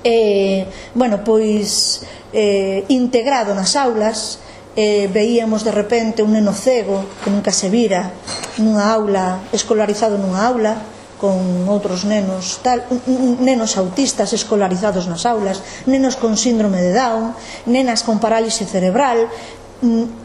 eh, bueno, pois eh, integrado nas aulas, eh, veíamos de repente un neno cego que nunca se vira nunha aula, escolarizado nunha aula con outros nenos tal, nenos autistas escolarizados nas aulas, nenos con síndrome de Down, nenas con parálise cerebral.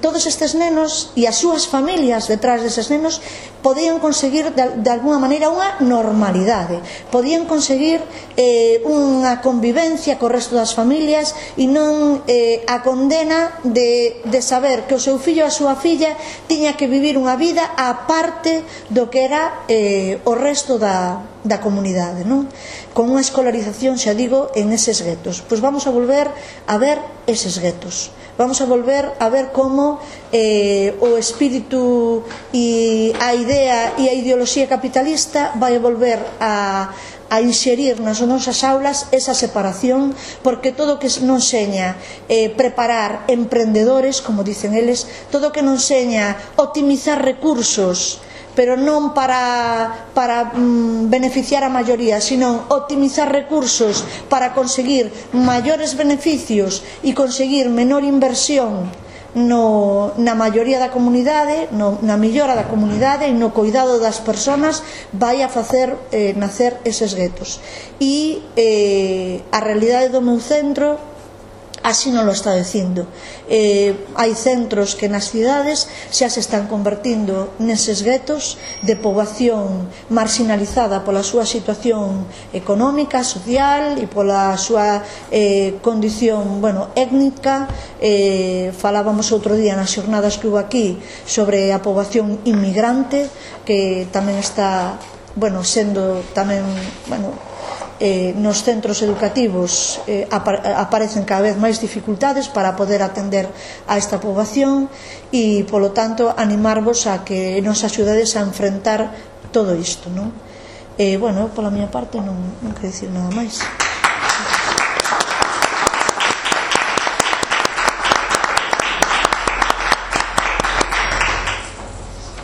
Todos estes nenos e as súas familias detrás deses nenos podían conseguir de, de alguna maneira unha normalidade, podían conseguir eh, unha convivencia co resto das familias e non eh, a condena de, de saber que o seu fillo ou a súa filla tiña que vivir unha vida á parte do que era eh, o resto da, da comunidade, non? Con unha escolarización, xa digo, en eses guetos. Pois vamos a volver a ver eses guetos, vamos a volver a ver como eh, o espírito e a idea e a ideoloxía capitalista vai a volver a, a inserir nas nosas aulas esa separación, porque todo que non seña eh, preparar emprendedores, como dicen eles, todo que non seña optimizar recursos, pero non para, para mm, beneficiar a maioría, sino optimizar recursos para conseguir maiores beneficios e conseguir menor inversión no, na maioría da comunidade, no, na mellora da comunidade e no cuidado das persoas, vai a facer eh, nacer eses guetos. E eh, a realidade do meu centro así non lo está dicindo. Eh, hai centros que nas cidades xa se están convertindo neses guetos de poboación marginalizada pola súa situación económica, social e pola súa eh, condición, bueno, étnica. Eh, falábamos outro día nas xornadas que hubo aquí sobre a poboación inmigrante, que tamén está, bueno, sendo tamén, bueno, Eh, nos centros educativos eh, aparecen cada vez máis dificultades para poder atender a esta poboación e, polo tanto, animarvos a que nos axudades a enfrentar todo isto, non? Eh, bueno, pola miña parte non, non quero dicir nada máis.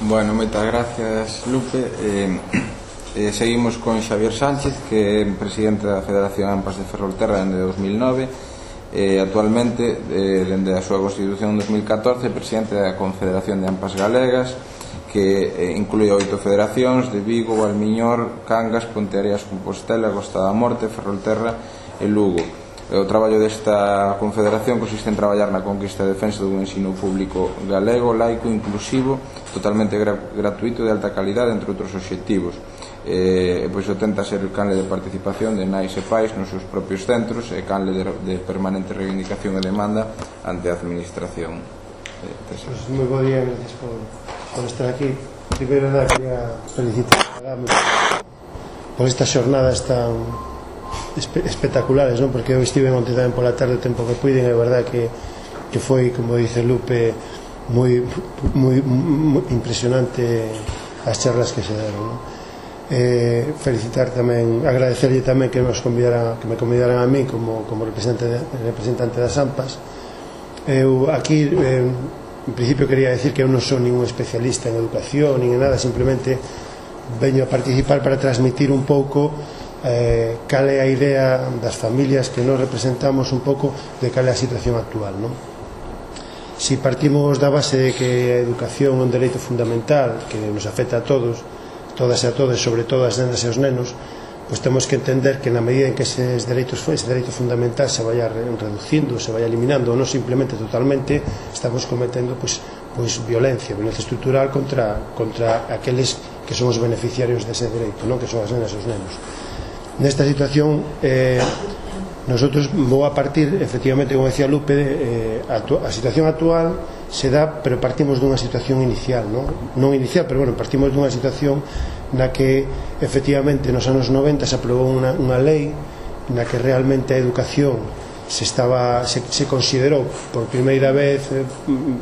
Bueno, moitas gracias, Lupe. Eh, Eh, seguimos con Xavier Sánchez, que é presidente da Federación AMPAs de Ferrolterra dende dos mil nove, eh, actualmente, eh, dende a súa constitución en dos mil catorce, presidente da Confederación de AMPAs Galegas, que eh, inclúe oito federacións de Vigo, Valmiñor, Cangas, Ponteareas, Compostela, Costa da Morte, Ferrolterra e Lugo. O traballo desta confederación consiste en traballar na conquista e defensa dun ensino público galego, laico, inclusivo, totalmente gra gratuito e de alta calidade, entre outros obxectivos. Eh, pois o tenta ser canle de participación de nais e pais nos seus propios centros e canle de, de permanente reivindicación e demanda ante a administración. Eh, pues moi bo día, gracias por, por estar aquí. Primeiro nada, quería felicitar a Gami por estas xornadas tan espe espectaculares, non? Porque eu estive onte tamén pola tarde o tempo que puiden, é verdad que, que foi, como dice Lupe, moi, moi, moi impresionante as charlas que se deron, non? Eh, felicitar tamén, agradecerlle tamén que nos convidaran, que me convidaran a mí como, como representante, de, representante das AMPAs. Eu aquí eh, en principio quería decir que eu non son ningún especialista en educación nin en nada, simplemente veño a participar para transmitir un pouco eh, cal é a idea das familias que nos representamos, un pouco de cal é a situación actual, non? Si partimos da base de que a educación é un dereito fundamental que nos afecta a todos, todas e a todos, sobre todo as nenas e os nenos, pois temos que entender que na medida en que eses dereitos, ese dereito fundamental se vaya reducindo, se vaya eliminando, ou non simplemente totalmente, estamos cometendo pois, pois violencia, violencia estrutural contra, contra aqueles que son os beneficiarios dese dereito, non? Que son as nenas e os nenos. Nesta situación, eh, nosotros vou a partir, efectivamente, como decía Lupe, eh, a, a situación actual se dá, pero partimos dunha situación inicial, non? Non inicial, pero bueno, partimos dunha situación na que efectivamente nos anos noventa se aprobou unha, unha lei na que realmente a educación se estaba se, se considerou por primeira vez eh,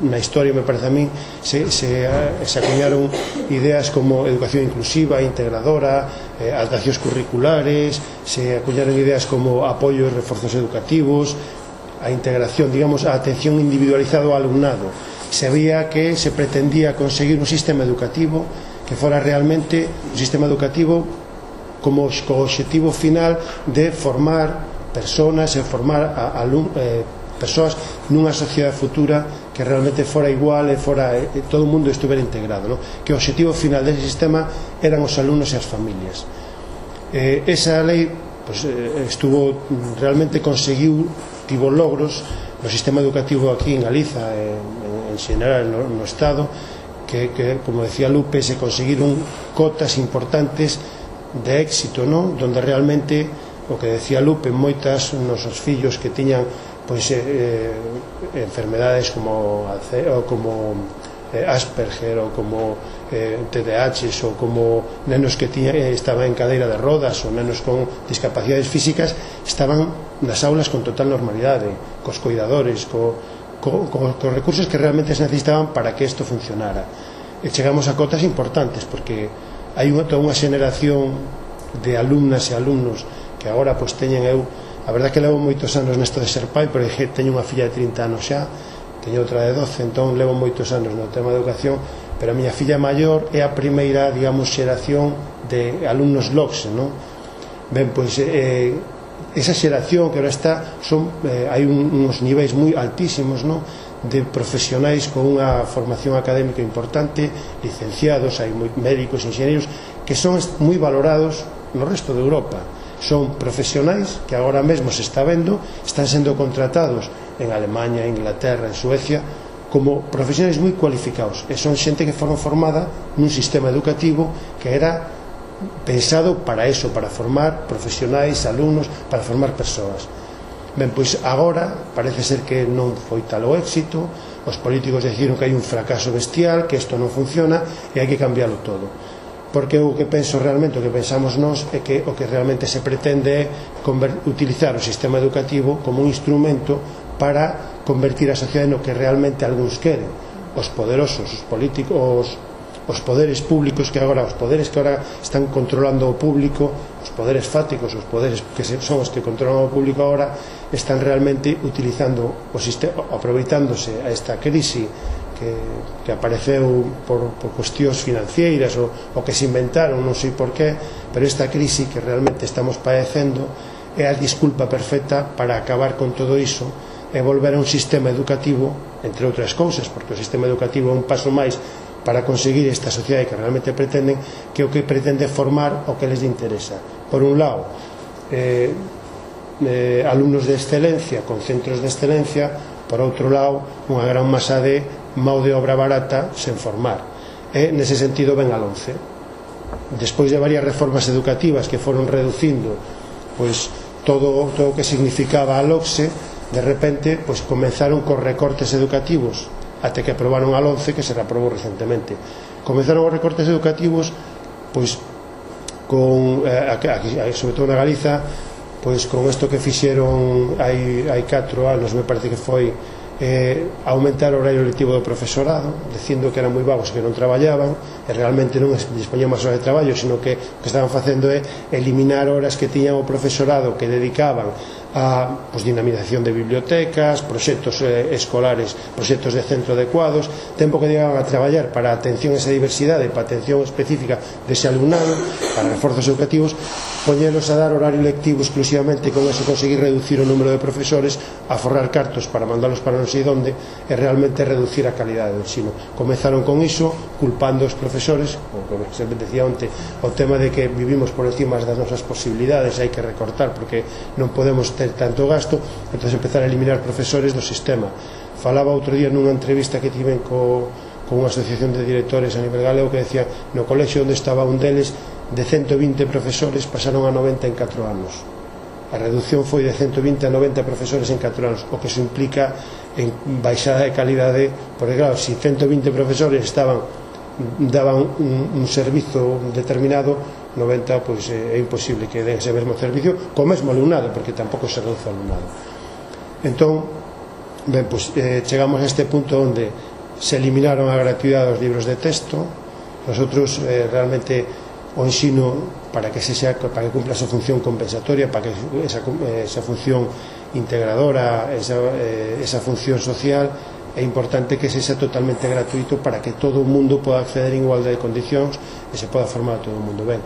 na historia, me parece a mí, se, se, se acuñaron ideas como educación inclusiva, integradora, eh, adaptacións curriculares, se acuñaron ideas como apoio e reforzos educativos, a integración, digamos, a atención individualizada ao alumnado. Se veía que se pretendía conseguir un sistema educativo que fora realmente un sistema educativo como co obxectivo final de formar personas e formar a, a, eh, persoas nunha sociedade futura que realmente fora igual e fora eh, todo o mundo estuvera integrado, ¿no? Que o obxectivo final dese sistema eran os alumnos e as familias. Eh, esa lei pues, eh, estuvo realmente conseguiu tivo logros no sistema educativo aquí en Galiza, en, en xeral no, no Estado, que, que, como decía Lupe, se conseguiron cotas importantes de éxito, ¿no? Donde realmente, o que decía Lupe, moitas nosos fillos que tiñan pois, eh, enfermedades como, ou como eh, Asperger ou como eh, T D A H ou como nenos que tiña, eh, estaban en cadeira de rodas ou nenos con discapacidades físicas, estaban nas aulas con total normalidade, cos cuidadores, co, co, co, cos recursos que realmente se necesitaban para que isto funcionara. E chegamos a cotas importantes porque hai unha, toda unha xeneración de alumnas e alumnos que agora pois teñen, eu a verdad que levo moitos anos nesto de ser pai, pero teño unha filla de trinta anos xa, teño outra de doce, entón levo moitos anos no tema de educación, pero a miña filla maior é a primeira, digamos, xeración de alumnos LOCSE, non? Ben, pois eh, esa xeración que ahora está son, eh, hai un, uns niveis moi altísimos, non? De profesionais con unha formación académica importante, licenciados, hai moi médicos, enxeñeiros que son moi valorados no resto de Europa. Son profesionais que agora mesmo se está vendo, están sendo contratados en Alemania, Inglaterra, en Suecia, como profesionais moi cualificados, e son xente que foron formada nun sistema educativo que era pensado para eso, para formar profesionais, alumnos, para formar persoas. Ben, pois agora parece ser que non foi tal o éxito, os políticos decidiron que hai un fracaso bestial, que isto non funciona e hai que cambiarlo todo. Porque o que penso realmente, o que pensamos nós é que o que realmente se pretende é utilizar o sistema educativo como un instrumento para convertir a sociedade no que realmente algúns queren, os poderosos, os políticos, os poderes públicos que agora, os poderes que agora están controlando o público, os poderes fáticos, os poderes que son os que controlan o público agora, están realmente utilizando o sistema, aproveitándose a esta crise que, que apareceu por, por cuestións financeiras ou, ou que se inventaron, non sei por qué, pero esta crise que realmente estamos padecendo é a disculpa perfecta para acabar con todo iso e volver a un sistema educativo, entre outras cousas, porque o sistema educativo é un paso máis para conseguir esta sociedade que realmente pretenden, que o que pretende formar o que les interesa. Por un lado, eh, eh, alumnos de excelencia con centros de excelencia, por outro lado, unha gran masa de mão de obra barata sen formar. E, nese sentido, ven a LOMCE. Despois de varias reformas educativas que foron reducindo pois, todo, todo o que significaba a LOCSE, de repente pois, comenzaron cos recortes educativos até que aprobaron a LOMCE, que se reaprobou recentemente. Comenzaron os recortes educativos pois, con, eh, aquí, sobre todo na Galiza, pois con isto que fixeron hai, hai catro anos, me parece que foi eh, aumentar o horario lectivo do profesorado, dicindo que eran moi vagos, que non traballaban, e realmente non dispoñían máis horas de traballo, sino que o que estaban facendo é eliminar horas que tiñan o profesorado que dedicaban a pues, dinamización de bibliotecas, proxectos eh, escolares, proxectos de centro adecuados, tempo que llegaban a traballar para a atención a esa diversidade, para a atención específica dese alumnado, para reforzos educativos, poñelos a dar horario lectivo exclusivamente, con eso conseguir reducir o número de profesores, a forrar cartos para mandalos para non sei onde, e realmente reducir a calidade do ensino. Comenzaron con iso, culpando os profesores, o como se decía onte, o tema de que vivimos por encima das nosas posibilidades, hai que recortar porque non podemos ter tanto gasto, entón empezar a eliminar profesores do sistema. Falaba outro día nunha entrevista que tiven co, con unha asociación de directores a nivel galego que decía, no colexio onde estaba un deles, de ciento vinte profesores pasaron a noventa en catro anos. A reducción foi de ciento vinte a noventa profesores en catro anos, o que se implica en baixada de calidade, porque claro, se ciento vinte profesores estaban daban un, un servizo determinado, noventa pois é imposible que den ese mesmo servicio co mesmo alumnado, porque tampouco se reduce o alumnado. Entón, ben, pois, eh, chegamos a este punto onde se eliminaron a gratuidade dos libros de texto. Nosotros eh, realmente o ensino, para que se sea, para que cumpla esa función compensatoria, para que esa, esa función integradora, esa, eh, esa función social, é importante que se sea totalmente gratuito para que todo o mundo poda acceder en igualdade de condicións e se poda formar a todo o mundo. Ben,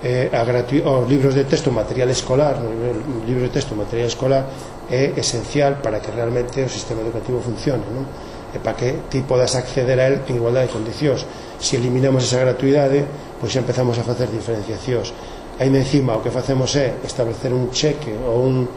eh, a gratu... os libros de texto, material escolar, os libros de texto, material escolar é esencial para que realmente o sistema educativo funcione, non? E para que ti podas acceder a él en igualdade de condicións. Se eliminamos esa gratuidade, pois xa empezamos a facer diferenciacións. Ainda encima o que facemos é establecer un cheque ou, un,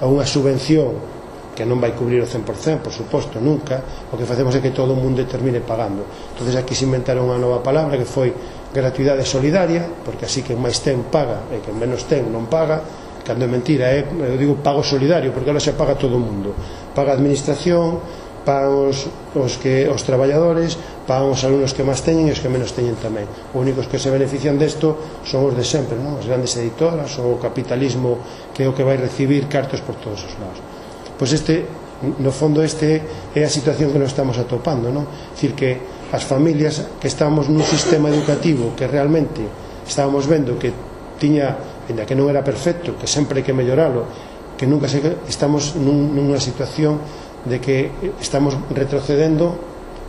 ou unha subvención que non vai cubrir o cen por cen, por suposto, nunca. O que facemos é que todo o mundo termine pagando. Entonces aquí se inventaron unha nova palabra que foi gratuidade solidaria, porque así que máis ten paga e que menos ten non paga, cando é mentira, é, eu digo pago solidario, porque ahora se paga todo o mundo. Paga a administración, pagan os, os, que, os traballadores, pagan os alumnos que máis teñen e os que menos teñen tamén. Os únicos que se benefician desto son os de sempre, non? As grandes editoras, o capitalismo que é o que vai recibir cartos por todos os lados. Pois este, no fondo, este é a situación que nos estamos atopando, non? É dicir, que as familias que estamos nun sistema educativo que realmente estábamos vendo que tiña, ainda que non era perfecto, que sempre hai que melloralo, que nunca se, estamos nun, nunha situación de que estamos retrocedendo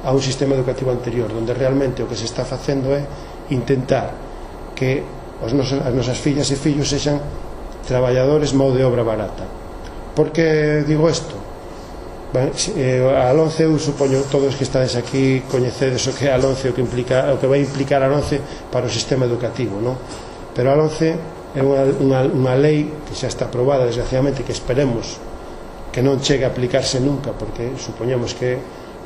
a un sistema educativo anterior, onde realmente o que se está facendo é intentar que os nosos, as nosas fillas e fillos sexan traballadores mão de obra barata. Por que digo isto? Ben, eh, a LONCE, eu supoño todos que estades aquí coñecedes o que é a LONCE, o que, implica, o que vai implicar a LONCE para o sistema educativo, non? Pero a LONCE é unha, unha, unha lei que xa está aprobada, desgraciadamente, que esperemos que non chegue a aplicarse nunca, porque supoñemos que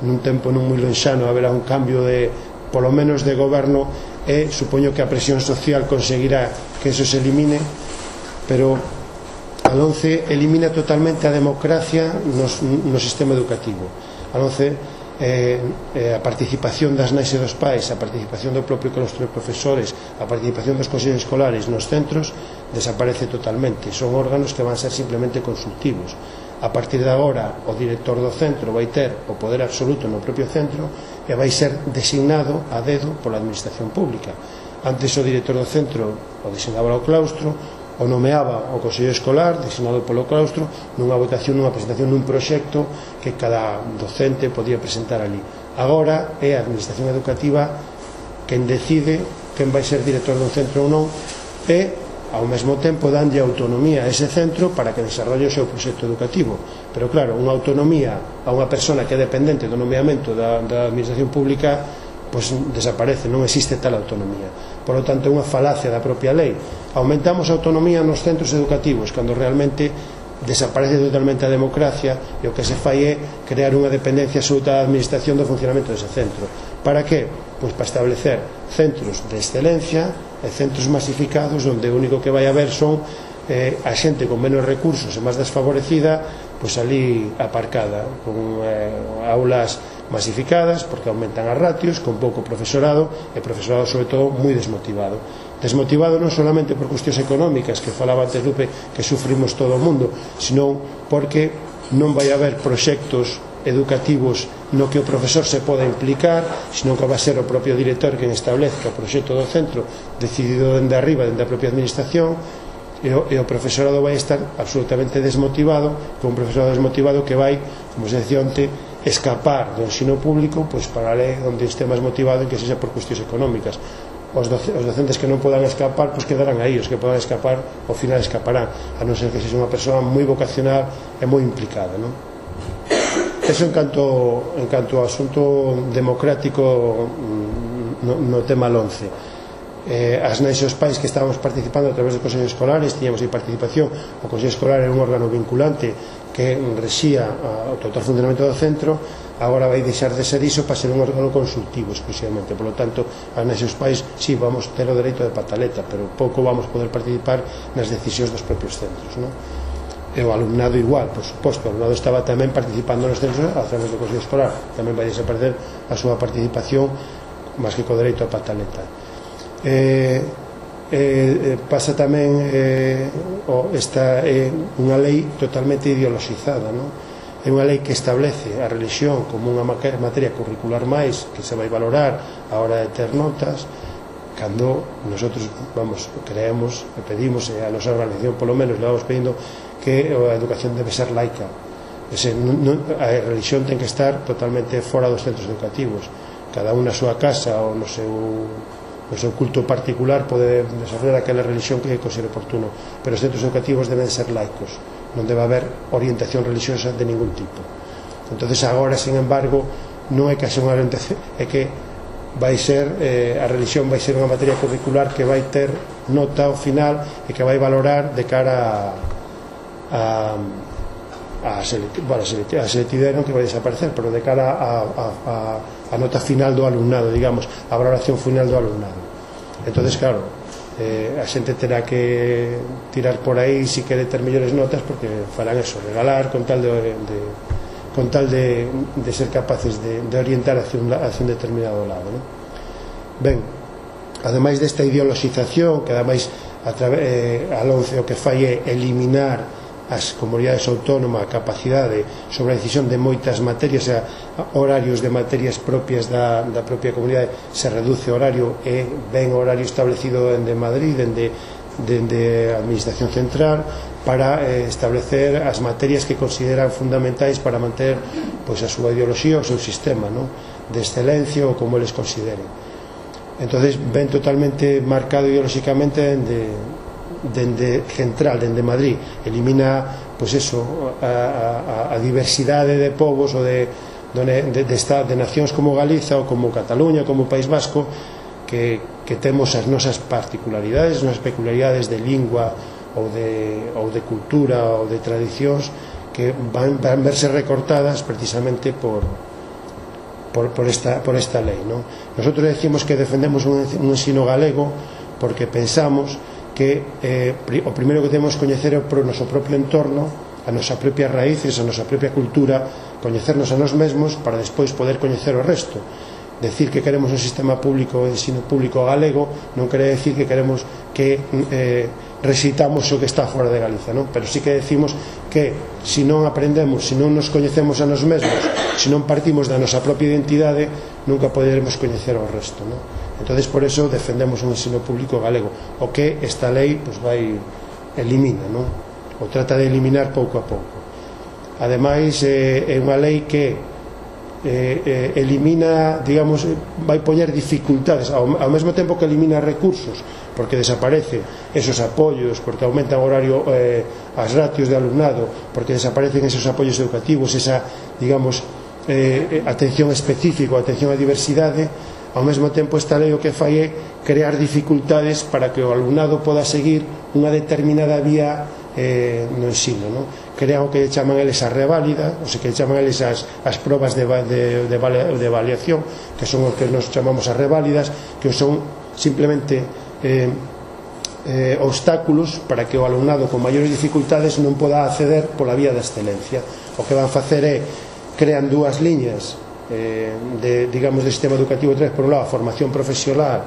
nun tempo non moi lonxano haberá un cambio de, polo menos de goberno, e supoño que a presión social conseguirá que eso se elimine, pero a LONCE elimina totalmente a democracia no, no sistema educativo. A LONCE eh, eh, a participación das nais e dos pais, a participación do propio claustro de profesores, a participación dos consellos escolares nos centros desaparece totalmente. Son órganos que van a ser simplemente consultivos. A partir de agora, o director do centro vai ter o poder absoluto no propio centro e vai ser designado a dedo pola administración pública. Antes o director do centro o designaba o claustro, o nomeaba o consello escolar, designado polo claustro, nunha votación, nunha presentación nun proxecto que cada docente podía presentar ali. Agora é a administración educativa quen decide quen vai ser director dun centro ou non, e ao mesmo tempo danlle autonomía a ese centro para que desarrolle o seu proxecto educativo. Pero claro, unha autonomía a unha persona que é dependente do nomeamento da, da administración pública, pois desaparece, non existe tal autonomía. Por lo tanto, é unha falacia da propia lei. Aumentamos a autonomía nos centros educativos cando realmente desaparece totalmente a democracia, e o que se fai é crear unha dependencia absoluta da administración do funcionamento dese centro. Para que? Pois para establecer centros de excelencia e centros masificados onde o único que vai haber son eh, a xente con menos recursos e máis desfavorecida, pois ali aparcada, con eh, aulas masificadas, porque aumentan as ratios, con pouco profesorado, e profesorado sobre todo moi desmotivado. desmotivado non solamente por cuestións económicas, que falaba antes Lupe, que sufrimos todo o mundo, sino porque non vai haber proxectos educativos no que o profesor se poda implicar, sino que vai ser o propio director quen establezca o proxecto do centro, decidido dende arriba, dende a propia administración, e o, e o profesorado vai estar absolutamente desmotivado, con un profesorado desmotivado que vai, como se decía onte, escapar do ensino público pois para a lei onde este máis motivado en que sexa por cuestións económicas. Os, doce, os docentes que non podan escapar pois quedarán aí, os que podan escapar ao final escaparán, a non ser que sexa unha persoa moi vocacional e moi implicada, non? Eso en canto, en canto ao asunto democrático no, no tema once. Eh, as nais e os pais que estábamos participando a través dos consellos escolares, tiñamos aí participación. O consello escolar era un órgano vinculante que rexía o total funcionamento do centro, agora vai deixar de ser iso para ser un órgano consultivo exclusivamente. Por lo tanto, as nais e os pais sí, vamos ter o dereito de pataleta, pero pouco vamos poder participar nas decisións dos propios centros, non? E o alumnado igual, por suposto, o alumnado estaba tamén participando nos centros a través do consello escolar, tamén vai desaparecer a súa participación máis que co dereito a pataleta. Eh, eh, pasa tamén eh, o, esta é eh, unha lei totalmente ideologizada, non? É unha lei que establece a religión como unha materia curricular máis que se vai valorar a hora de ter notas, cando nosotros, vamos, creemos e pedimos, e a nosa organización polo menos le vamos pedindo que a educación debe ser laica. Ese, non, non, a religión ten que estar totalmente fora dos centros educativos, cada un na súa casa ou no seu, no seu culto particular pode desarrollar aquela religión que considere oportuno, pero os centros educativos deben ser laicos, non debe haber orientación religiosa de ningún tipo. Entonces agora, sin embargo, non é que haxa unha orientación, é que vai ser, eh, a religión vai ser unha materia curricular que vai ter nota ao final e que vai valorar de cara a, a, a, select, bueno, a selectividade non que vai desaparecer, pero de cara a, a, a, a nota final do alumnado, digamos, a valoración final do alumnado. Entonces, claro, eh, a xente terá que tirar por aí se quere ter mellores notas, porque farán eso, regalar con tal de, de con tal de, de ser capaces de, de orientar hacia un, hacia un determinado lado, ¿no? Ben, ademais desta ideoloxización, que ademais a través, eh, a once o que fai é eliminar as comunidades autónomas a capacidade sobre a decisión de moitas materias, a horarios de materias propias da, da propia comunidade, se reduce o horario e ven o horario establecido dende Madrid, dende, dende a administración central, para eh, establecer as materias que consideran fundamentais para manter pois, a súa ideoloxía, o seu sistema, ¿no?, de excelencia ou como eles consideren. Entonces ven totalmente marcado ideolóxicamente dende, dende central, dende Madrid, elimina pois eso, a, a, a diversidade de povos ou de, de, de, de, de nacións como Galiza ou como Cataluña, como País Vasco, que, que temos as nosas particularidades, as nosas peculiaridades de lingua ou de, ou de cultura ou de tradicións que van, van verse recortadas precisamente por, por, por, esta, por esta lei, ¿no? Nosotros decimos que defendemos un, un ensino galego porque pensamos que eh, o primeiro que temos que coñecer é o noso propio entorno, a nosa propia raíces, a nosa propia cultura, coñecernos a nós mesmos para despois poder coñecer o resto. Decir que queremos un sistema público de ensino público galego non quere decir que queremos que eh, recitamos o que está fora de Galiza, non? Pero sí que decimos que se non aprendemos, se non nos coñecemos a nos mesmos, se non partimos da nosa propia identidade, nunca poderemos coñecer o resto, non? Entonces por eso defendemos un ensino público galego, o que esta lei pues, vai elimina, non? O trata de eliminar pouco a pouco. Ademais eh, é unha lei que Eh, eh, elimina, digamos, vai poñer dificultades ao, ao mesmo tempo que elimina recursos, porque desaparece esos apoios, porque aumenta o horario, eh, as ratios de alumnado, porque desaparecen esos apoios educativos, esa, digamos, eh, atención específica, atención á diversidade. Ao mesmo tempo esta lei o que fai é crear dificultades para que o alumnado poda seguir unha determinada vía eh, no ensino, non? Crean o que chaman eles a reválida, o sea, que chaman eles as, as probas de, de, de, de avaliación, que son o que nos chamamos as reválidas, que son simplemente eh, eh, obstáculos para que o alumnado con maiores dificultades non poda acceder pola vía da excelencia. O que van facer é crean dúas liñas eh, de, digamos, de sistema educativo tres, por un lado a formación profesional,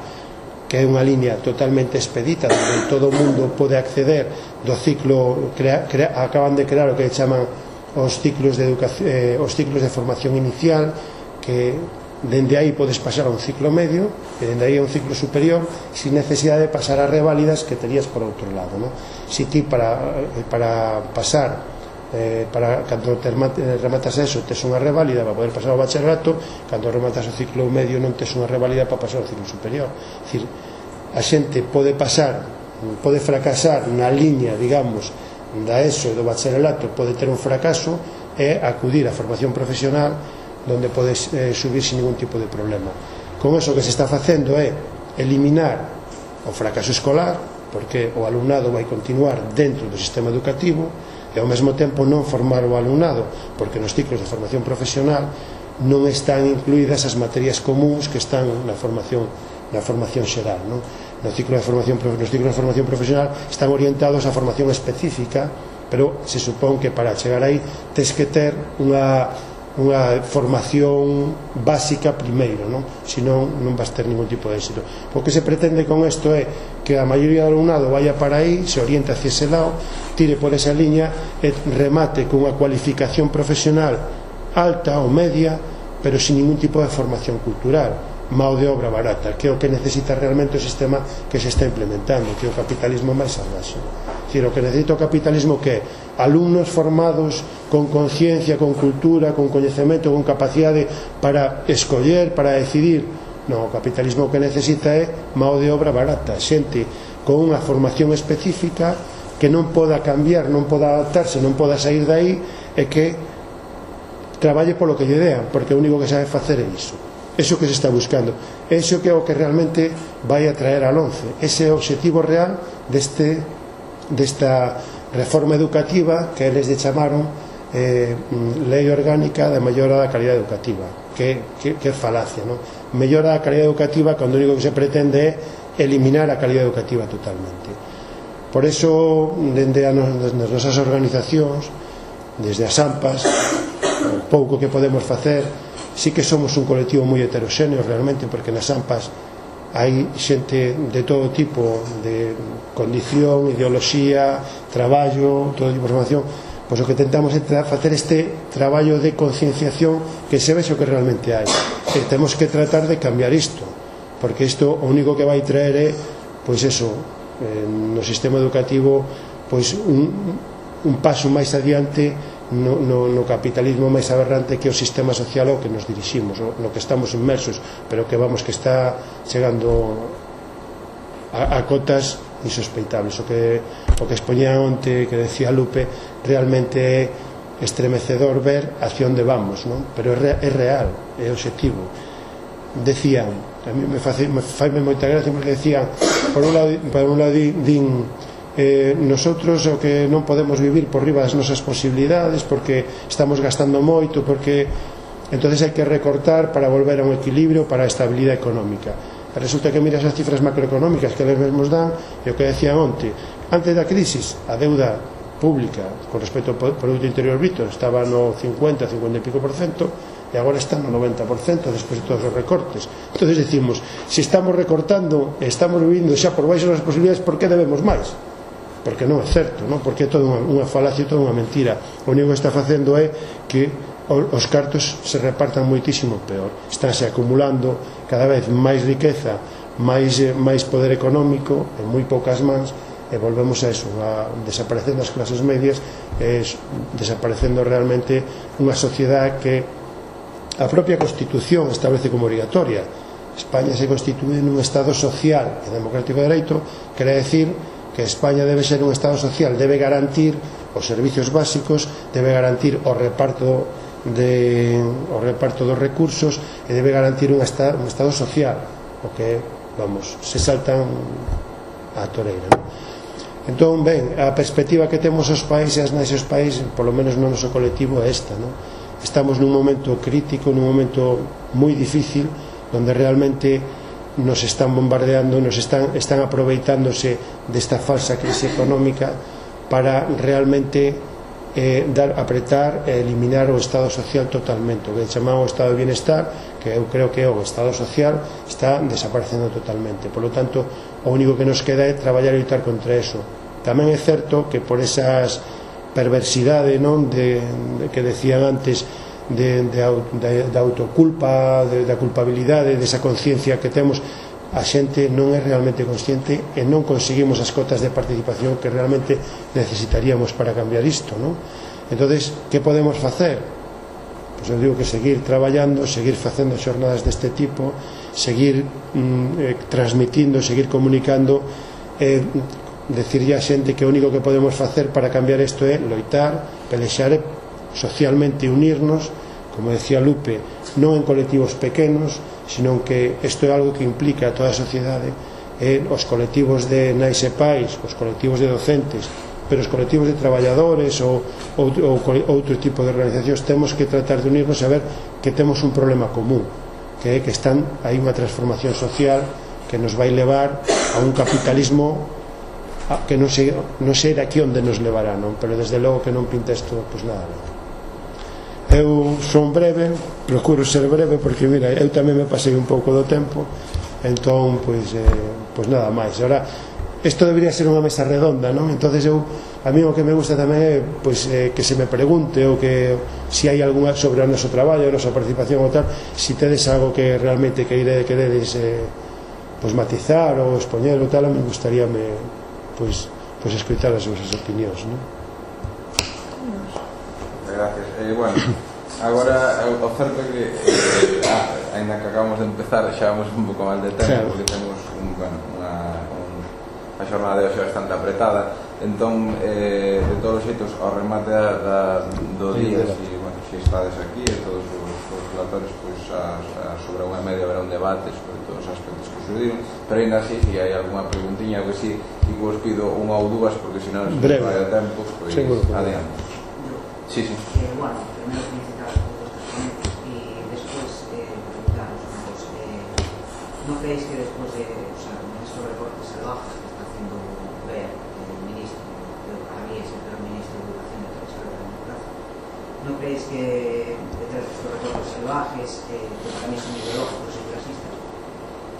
que é unha liña totalmente expedita onde todo o mundo pode acceder do ciclo, crea, crea, acaban de crear o que chaman os ciclos de educación, eh, os ciclos de formación inicial, que dende aí podes pasar a un ciclo medio e dende aí a un ciclo superior sin necesidade de pasar a reválidas que terías por outro lado, ¿no? Si ti para, para pasar eh, para cando te rematas eso tes unha reválida para poder pasar ao bacharelato, cando rematas o ciclo medio non tes unha reválida para pasar ao ciclo superior. É dicir, a xente pode pasar, pode fracasar na liña, digamos, da ESO e do bacharelato, pode ter un fracaso e acudir á formación profesional donde podes eh, subir sin ningún tipo de problema. Con eso que se está facendo é eliminar o fracaso escolar, porque o alumnado vai continuar dentro do sistema educativo, e ao mesmo tempo non formar o alumnado, porque nos ciclos de formación profesional non están incluídas as materias comuns que están na formación na formación xeral, non? No ciclo de formación, nos ciclos de formación profesional están orientados a formación específica, pero se supón que para chegar aí tes que ter unha unha formación básica primeiro, non? Senón non vas ter ningún tipo de éxito. O que se pretende con isto é que a maioría do alumnado vaya para aí, se orienta hacia ese lado, tire por esa liña e remate cunha cualificación profesional alta ou media, pero sin ningún tipo de formación cultural, mao de obra barata, que é o que necesita realmente o sistema que se está implementando, que é o capitalismo máis salvaxe. É dicir, o que necesita o capitalismo que é alumnos formados con conciencia, con cultura, con coñecemento, con capacidade para escoller, para decidir. Non, o capitalismo que necesita é mao de obra barata, xente con unha formación específica que non poda cambiar, non poda adaptarse, non poda sair dai, e que traballe polo que lle dean, porque o único que sabe facer é iso. Eso que se está buscando, eso que é o que realmente vai a traer al once, ese é o objetivo real deste, desta reforma educativa que eles lle chamaron eh, lei orgánica de mellora da calidad educativa, que, que, que é falacia, non? Mellora da calidad educativa cando o único que se pretende é eliminar a calidad educativa totalmente. Por eso, dende as nosas organizacións, desde as AMPAs, o pouco que podemos facer, sí que somos un colectivo moi heteroxéneo realmente, porque nas AMPAs hai xente de todo tipo de condición, ideoloxía, traballo, todo tipo de formación. Pois o que tentamos é facer este traballo de concienciación, que se vexe o que realmente hai, e temos que tratar de cambiar isto, porque isto o único que vai traer é, pois eso, eh, no sistema educativo, pois un, un paso máis adiante No, no, no capitalismo máis aberrante que o sistema social ao que nos diriximos, no, no que estamos inmersos, pero que vamos que está chegando a, a cotas insospeitables. O que, o que expoñía onte, que decía Lupe, realmente é estremecedor ver hacia onde vamos, non? Pero é, re, é real, é objetivo. Decían, a mí me fai moita gracia porque decían, por un lado, por un lado din, Eh, nosotros o que non podemos vivir por riba das nosas posibilidades porque estamos gastando moito, porque entonces hai que recortar para volver a un equilibrio, para a estabilidade económica. E resulta que miras as cifras macroeconómicas que eles mesmos dan, e o que decían onte, antes da crisis a deuda pública con respecto ao Produto Interior Bruto estaba no cincuenta, cincuenta e pico por cento, e agora está no noventa por cento despois de todos os recortes. Entonces decimos, se estamos recortando e estamos vivindo xa por baixo das posibilidades, por que debemos máis? Porque non é certo, non? Porque é toda unha, unha falacia, toda unha mentira. O único que está facendo é que os cartos se repartan moitísimo peor. Estánse acumulando cada vez máis riqueza, máis, máis poder económico en moi poucas mans, e volvemos a eso, a desaparecendo as clases medias, e desaparecendo realmente unha sociedade que a propia Constitución establece como obrigatoria. España se constitúe nun Estado social e democrático de dereito, quere decir que España debe ser un Estado social, debe garantir os servicios básicos, debe garantir o reparto de, o reparto dos recursos, e debe garantir un estado, un estado social, o que, vamos, se saltan a toreira, non? Entón, ben, a perspectiva que temos os países, naixos países, polo menos no noso colectivo, é esta, non? Estamos nun momento crítico, nun momento moi difícil, onde realmente nos están bombardeando, nos están, están aproveitándose desta falsa crise económica para realmente eh, dar, apretar e eliminar o Estado social totalmente, o que chamamos o Estado de Bienestar, que eu creo que o Estado social está desaparecendo totalmente. Por lo tanto, o único que nos queda é traballar e lutar contra eso. Tamén é certo que por esas perversidade, non, de, de que decían antes, de, de, de, de autoculpa, de, da culpabilidade, desa conciencia que temos, a xente non é realmente consciente e non conseguimos as cotas de participación que realmente necesitaríamos para cambiar isto, non? Entonces, que podemos facer? Pois eu digo que seguir traballando, seguir facendo xornadas deste tipo, seguir mm, eh, transmitindo, seguir comunicando, eh, decirlle a xente que o único que podemos facer para cambiar isto é loitar, pelexar e socialmente unirnos, como decía Lupe, non en colectivos pequenos, sino que isto é algo que implica a toda a sociedade, eh, os colectivos de nais e pais, os colectivos de docentes, pero os colectivos de traballadores ou, ou, ou outro tipo de organizacións, temos que tratar de unirnos e ver que temos un problema común, que é que están hai unha transformación social que nos vai levar a un capitalismo a, que non sei, non sei aquí onde nos levará, non? Pero desde logo que non pinta isto, pois nada, non? Eu son breve, procuro ser breve porque, mira, eu tamén me pasei un pouco do tempo, entón, pois, eh, pois nada máis. Ahora, isto debería ser unha mesa redonda, non? Entonces eu, a mí o que me gusta tamén é, pois, eh, que se me pregunte ou que, se hai algunha sobre o noso traballo, a nosa participación ou tal, se tedes algo que realmente queire, queredes eh, pois matizar ou expoñer ou tal, me gustaría me, pois, pois escoitar as vosas opinións, non? Gracias. Eh, bueno, agora o certo é que eh, ah, ainda que acabamos de empezar xa vamos un pouco mal de tempo, claro, porque temos un, bueno, unha, un, a xornada de hoxe bastante apretada, entón eh, de todos os xeitos ao remate da, da, do día, si, bueno, si estades aquí e todos os, os relatorios, pois a, a sobre unha media haberá un debate sobre todos os aspectos que surdiron, pero ainda así, se hai alguna preguntiña ou que si, e vos pido unha ou dúas porque senón se nos vai a tempo, pois adiante. Sí, sí. Eh, bueno, primero felicitar a todos los ponentes y después eh, preguntaros una cosa. Eh, ¿No creéis que después de, o sea, estos recortes salvajes que está haciendo ver el ministro, que para mí es el peor ministro de Educación de toda la historia de la democracia, ¿no creéis que detrás de estos recortes salvajes, eh, que para mí son ideológicos y clasistas,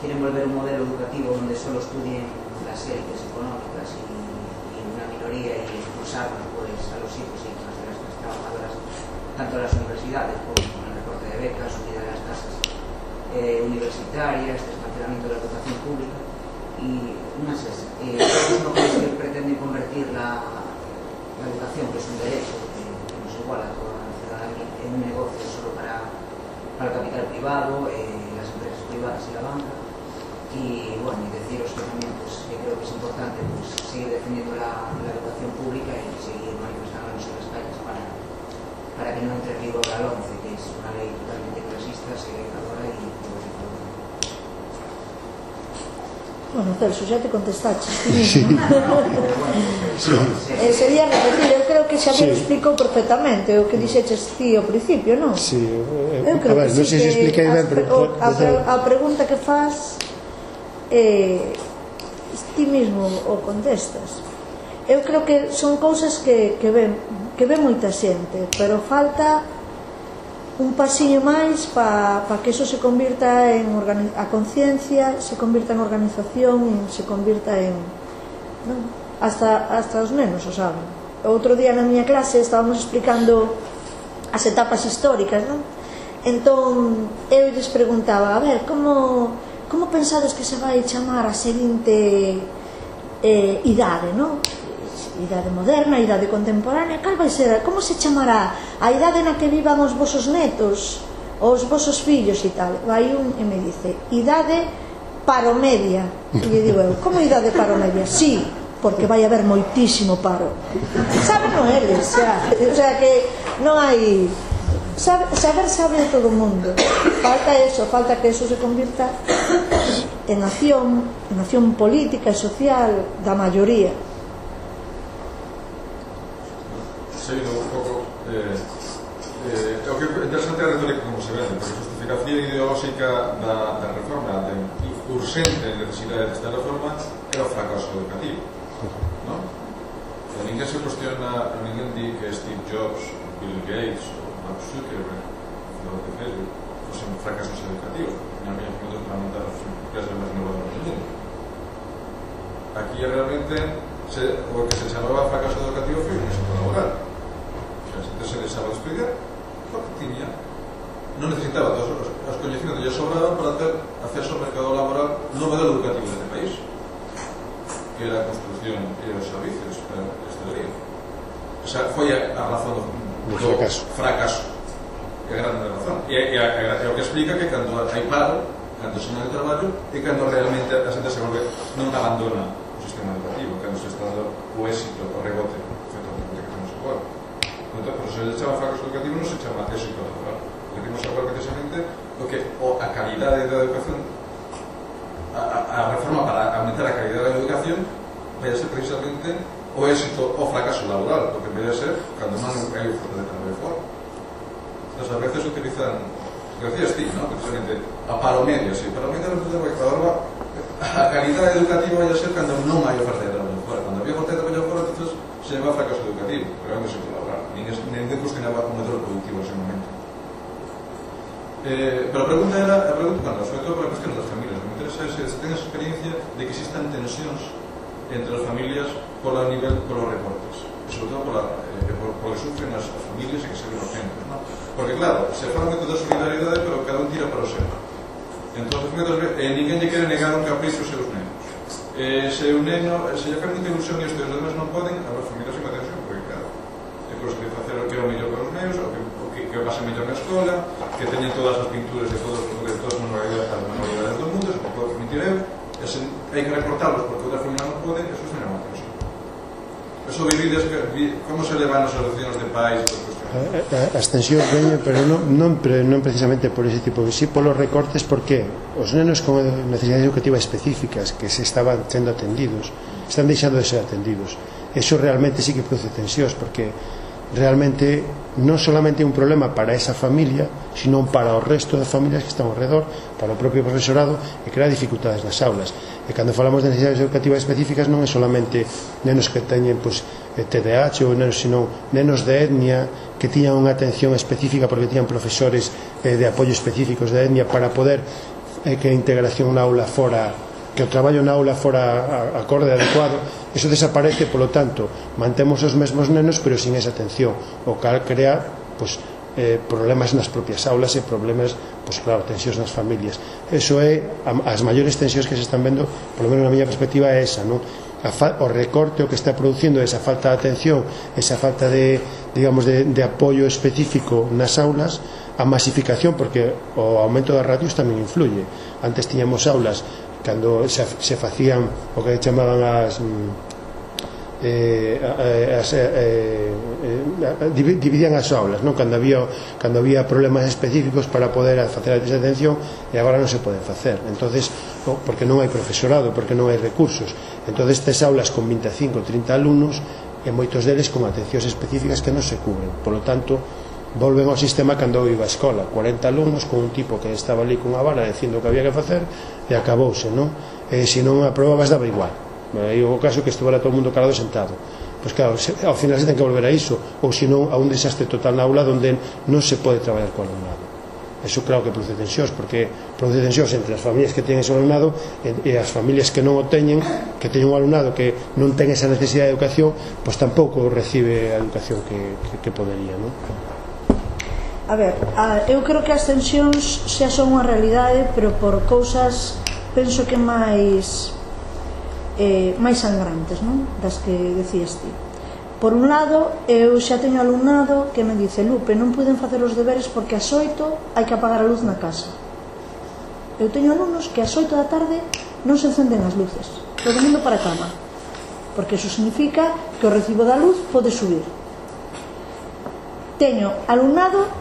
quieren volver un modelo educativo donde solo estudien las élites económicas y, y una minoría y expulsarnos pues, a los hijos y hijas de las trabajadoras, tanto las universidades como con el recorte de becas, subida de las tasas eh, universitarias, desmantelamiento de la educación pública y unas es, eh, no creéis que pretenden convertir la, la educación, que es un derecho que, que nos iguala a toda la ciudadanía, en un negocio solo para, para el capital privado, eh, las empresas privadas y la banca. Y bueno, y deciros que también pues, que creo que es importante pues, seguir defendiendo la, la educación pública y seguir manifestándonos en las calles para, para que no entre en vigor la LOMCE, que es una ley totalmente clasista, segregadora y privatizadora. Bueno, Celso, xa te contestaste sí. eh, sería repetir, eu creo que xa me lo explicou perfectamente o que dixeches ti ao principio, non? Sí, eh, eu creo a ver, que non sí, sei se expliquei ben, pero a, a, a pregunta que faz eh, ti mesmo o contestas. Eu creo que son cousas que, que ven que ven moita xente, pero falta un pasiño máis para pa que eso se convirta en a conciencia, se convirta en organización, se convirta en non? Hasta, hasta os nenos o saben. Outro día na miña clase estábamos explicando as etapas históricas, non? Entón eu lles preguntaba, a ver, como como pensades que se vai chamar a seguinte eh, idade, non? Idade moderna, idade contemporánea, cal vai ser, como se chamará a idade na que vivan os vosos netos, os vosos fillos e tal? Vai un e me dice, idade paromedia. E lle digo eu, como idade paromedia? Sí, porque vai haber moitísimo paro. Saben non eles, xa, o sea que non hai... Saber, saber sabe todo o mundo. Falta eso, falta que eso se convirta en acción, en acción política e social da maioría. Seguindo un pouco eh, eh, o que é interesante a retórica como se vende, porque a justificación ideolóxica da, da reforma, da urxente necesidade desta reforma, era o fracaso educativo, non? A mí ninguén se cuestiona, ninguén di que Steve Jobs, Bill Gates ou Mark Zuckerberg, fundador de Facebook, fosen fracasos educativos, porque tenían menos minutos para montar as empresas máis innovadoras do mundo. Aquí realmente se, o que se chamaba fracaso educativo foi un éxito laboral. O sea, a xente se deixaba de estudiar porque tiña, non necesitaba todos os, os coñecimentos que lle sobraban para ter acceso ao mercado laboral no modelo educativo deste país, que era a construcción e os servicios para a hostelería. O sea, foi a, a razón do, do fracaso. fracaso. É a grande razón. E é o que explica que cando hai paro, cando se non hai traballo, e cando realmente a xente se volve, non abandona o sistema educativo, cando se está dando o éxito, o rebote, efectivamente, que temos agora. Entón, por se chama fracaso educativo, non se chama éxito laboral. O que temos agora, precisamente, o que o a calidade da educación, a, a, a reforma para aumentar a calidade da educación, vai a ser precisamente o éxito o fracaso laboral, porque vai a ser cando non hai oferta de traballo fora. Entonces, a veces utilizan, que decías ti, ¿no? Precisamente, a paro medio, sí, paro medio resulta que ahora a calidade educativa vai a ser cando non hai oferta de traballo fora. Cando había oferta de traballo fora, entonces se llama fracaso educativo, pero é un éxito laboral. Ninguén cuestionaba o modelo productivo en ese momento. Eh, pero a pregunta era, a pregunta, bueno, sobre todo para a cuestión das familias, me interesa se, se ten esa experiencia de que existan tensións entre as familias por a nivel, por os recortes, e sobre todo por, la, eh, por, por que sufren as, as familias e que se ven os centros, ¿no? Porque claro, se fala moito da solidaridade, pero cada un tira para o seu. Entón, eh, ninguén lle quere negar un capricho aos seus nenos. Eh, se un neno, se lle fai moita ilusión e os teus demais non poden, a as familias se tensión, porque claro, é por que facer o que é o mellor para os nenos, o que, o que, que o pasen mellor na escola, que teñen todas as pinturas de todos de todas as manualidades, as manualidades do mundo, se non pode permitir eu, e se hai que recortarlos porque outra familia non pode, eso é unha tensión. Eso vivides, como se levan as solucións de pais e todo. As tensións veñen, pero non, non, pero non precisamente por ese tipo, si polos recortes, porque os nenos con necesidades educativas específicas que se estaban sendo atendidos están deixando de ser atendidos. Eso realmente sí que produce tensións, porque realmente non solamente é un problema para esa familia, sino para o resto das familias que están ao redor, para o propio profesorado, e crea dificultades nas aulas. E cando falamos de necesidades educativas específicas non é solamente nenos que teñen pues, T D A H ou nenos, sino nenos de etnia que tiñan unha atención específica porque tiñan profesores eh, de apoio específicos de etnia para poder eh, que a integración na aula fora, que o traballo na aula fora acorde adecuado. Eso desaparece, polo tanto mantemos os mesmos nenos pero sin esa atención, o cal crea pues, eh, problemas nas propias aulas e problemas, pues, claro, tensións nas familias. Eso é, as maiores tensións que se están vendo, polo menos na miña perspectiva, é esa, non? A fa, o recorte o que está producindo esa falta de atención, esa falta de, digamos, de, de apoio específico nas aulas, a masificación, porque o aumento das ratios tamén influye. Antes tiñamos aulas cando se, se facían o que chamaban as eh, as, eh, eh, dividían as aulas, non? Cando había cando había problemas específicos para poder facer esa atención, e agora non se poden facer. Entonces, porque non hai profesorado, porque non hai recursos. Entonces, estas aulas con vinte e cinco, trinta alumnos, e moitos deles con atencións específicas que non se cubren. Por lo tanto, volven ao sistema cando eu iba a escola, cuarenta alumnos con un tipo que estaba ali cunha vara dicindo o que había que facer, e acabouse, non? E se non aprobabas daba igual. E o caso que estuvera todo o mundo calado sentado. Pois claro, se, ao final se ten que volver a iso, ou senón a un desastre total na aula onde non se pode traballar co alumnado. Eso claro que produce tensións, porque produce tensións entre as familias que teñen ese alumnado e as familias que non o teñen, que teñen un alumnado que non ten esa necesidade de educación, pois tampouco recibe a educación que, que, que podería, non? A ver, a, eu creo que as tensións xa son unha realidade, pero por cousas penso que máis eh, máis sangrantes, non? Das que decías ti. Por un lado, eu xa teño alumnado que me dice: Lupe, non puiden facer os deberes porque ás oito hai que apagar a luz na casa. Eu teño alumnos que ás oito da tarde non se encenden as luces, todo mundo para a cama, porque eso significa que o recibo da luz pode subir. Teño alumnado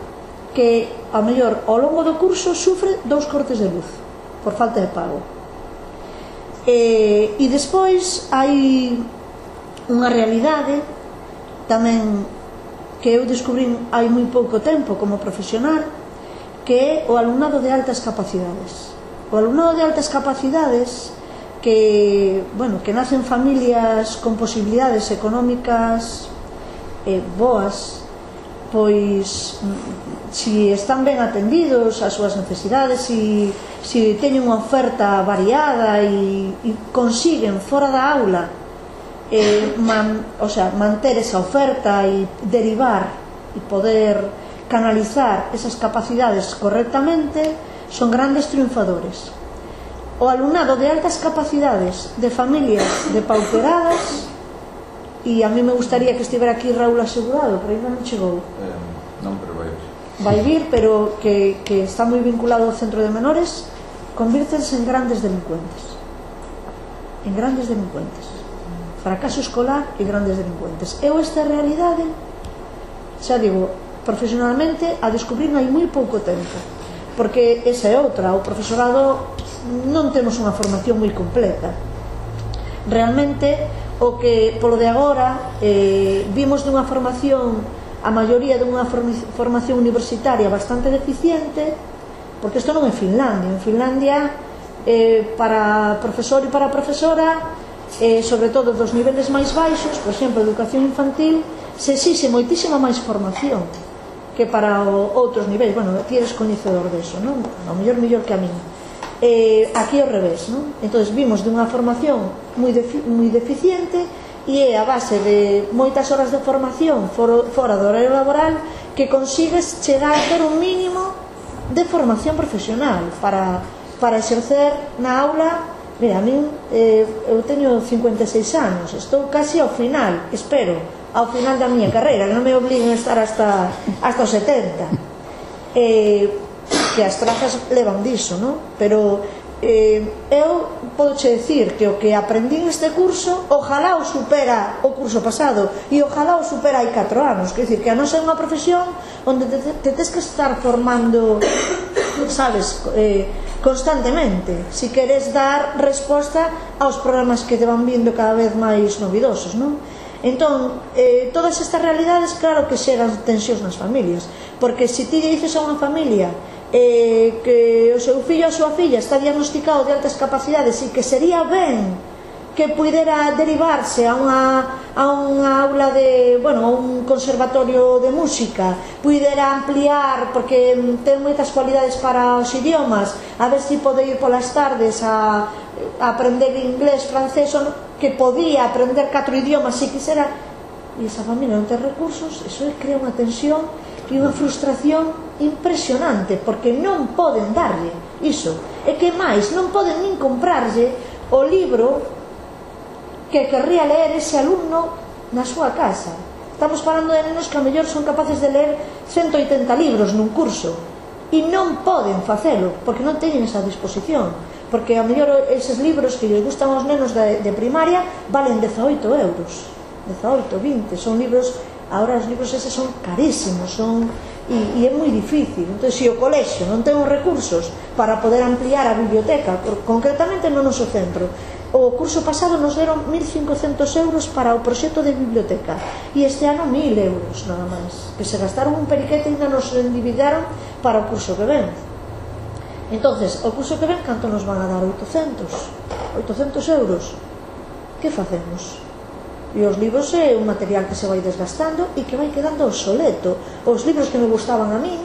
que, ao mellor, ao longo do curso sufre dous cortes de luz por falta de pago. E, e despois hai unha realidade tamén que eu descubrín hai moi pouco tempo como profesional, que é o alumnado de altas capacidades. O alumnado de altas capacidades que, bueno, que nacen familias con posibilidades económicas eh, boas, pois si están ben atendidos ás súas necesidades, si, si teñen unha oferta variada e, e consiguen fora da aula eh, man, o sea, manter esa oferta e derivar e poder canalizar esas capacidades correctamente, son grandes triunfadores. O alumnado de altas capacidades de familias depauperadas, e a mí me gustaría que estivera aquí Raúl Asegurado, pero ainda non chegou. Eh, non, pero vai vir. Vai vir, pero que, que está moi vinculado ao centro de menores, convírtense en grandes delincuentes. En grandes delincuentes. Fracaso escolar e grandes delincuentes. Eu esta realidade, xa digo, profesionalmente, a descubrir hai moi pouco tempo. Porque esa é outra, o profesorado non temos unha formación moi completa. Realmente, o que polo de agora eh, vimos dunha formación, a maioría dunha formación universitaria bastante deficiente, porque isto non é Finlandia. En Finlandia, eh, para profesor e para profesora, eh, sobre todo dos niveles máis baixos, por exemplo, educación infantil, se exixe moitísima máis formación que para o, outros niveis. Bueno, ti eres coñecedor deso, non? A mellor mellor que a min. Eh, aquí ao revés, non? Entón vimos dunha formación moi, defi moi deficiente, e é a base de moitas horas de formación for, fora do horario laboral que consigues chegar a ter un mínimo de formación profesional para, para exercer na aula. Mira, a min eh, eu teño cincuenta e seis anos, estou casi ao final, espero, ao final da miña carreira, non me obliguen a estar hasta, hasta os setenta. Eh, que as trazas levan diso, non? Pero eh, eu podoche decir que o que aprendí neste curso ojalá o supera o curso pasado, e ojalá o supera hai catro anos. Quer dizer, que a non ser unha profesión onde te, te tes que estar formando, sabes, eh, constantemente, si queres dar resposta aos problemas que te van vindo cada vez máis novidosos, non? Entón, eh, todas estas realidades, claro que xeran tensións nas familias, porque se ti dices a unha familia eh, que o seu fillo ou a súa filla está diagnosticado de altas capacidades e que sería ben que pudera derivarse a unha, a unha aula de, bueno, a un conservatorio de música, pudera ampliar, porque ten moitas cualidades para os idiomas, a ver se si pode ir polas tardes a, a aprender inglés, francés, que podía aprender catro idiomas se quisera, e esa familia non ten recursos, eso crea unha tensión e unha frustración impresionante, porque non poden darlle iso, e que máis, non poden nin comprarlle o libro que querría ler ese alumno na súa casa. Estamos falando de nenos que a mellor son capaces de ler ciento oitenta libros nun curso e non poden facelo porque non teñen esa disposición, porque a mellor eses libros que lles gustan aos nenos de, de primaria valen dezaoito euros, dezaoito, vinte, son libros, agora os libros eses son carísimos, son e, e é moi difícil. Entón, se o colexio non ten os recursos para poder ampliar a biblioteca, concretamente no noso centro, o curso pasado nos deron mil cincocentos euros para o proxecto de biblioteca e este ano mil euros nada máis, que se gastaron un periquete e ainda nos endividaron para o curso que ven. Entonces, o curso que ven, canto nos van a dar? oitocentos euros. Que facemos? E os libros é un material que se vai desgastando e que vai quedando obsoleto. Os libros que me gustaban a mí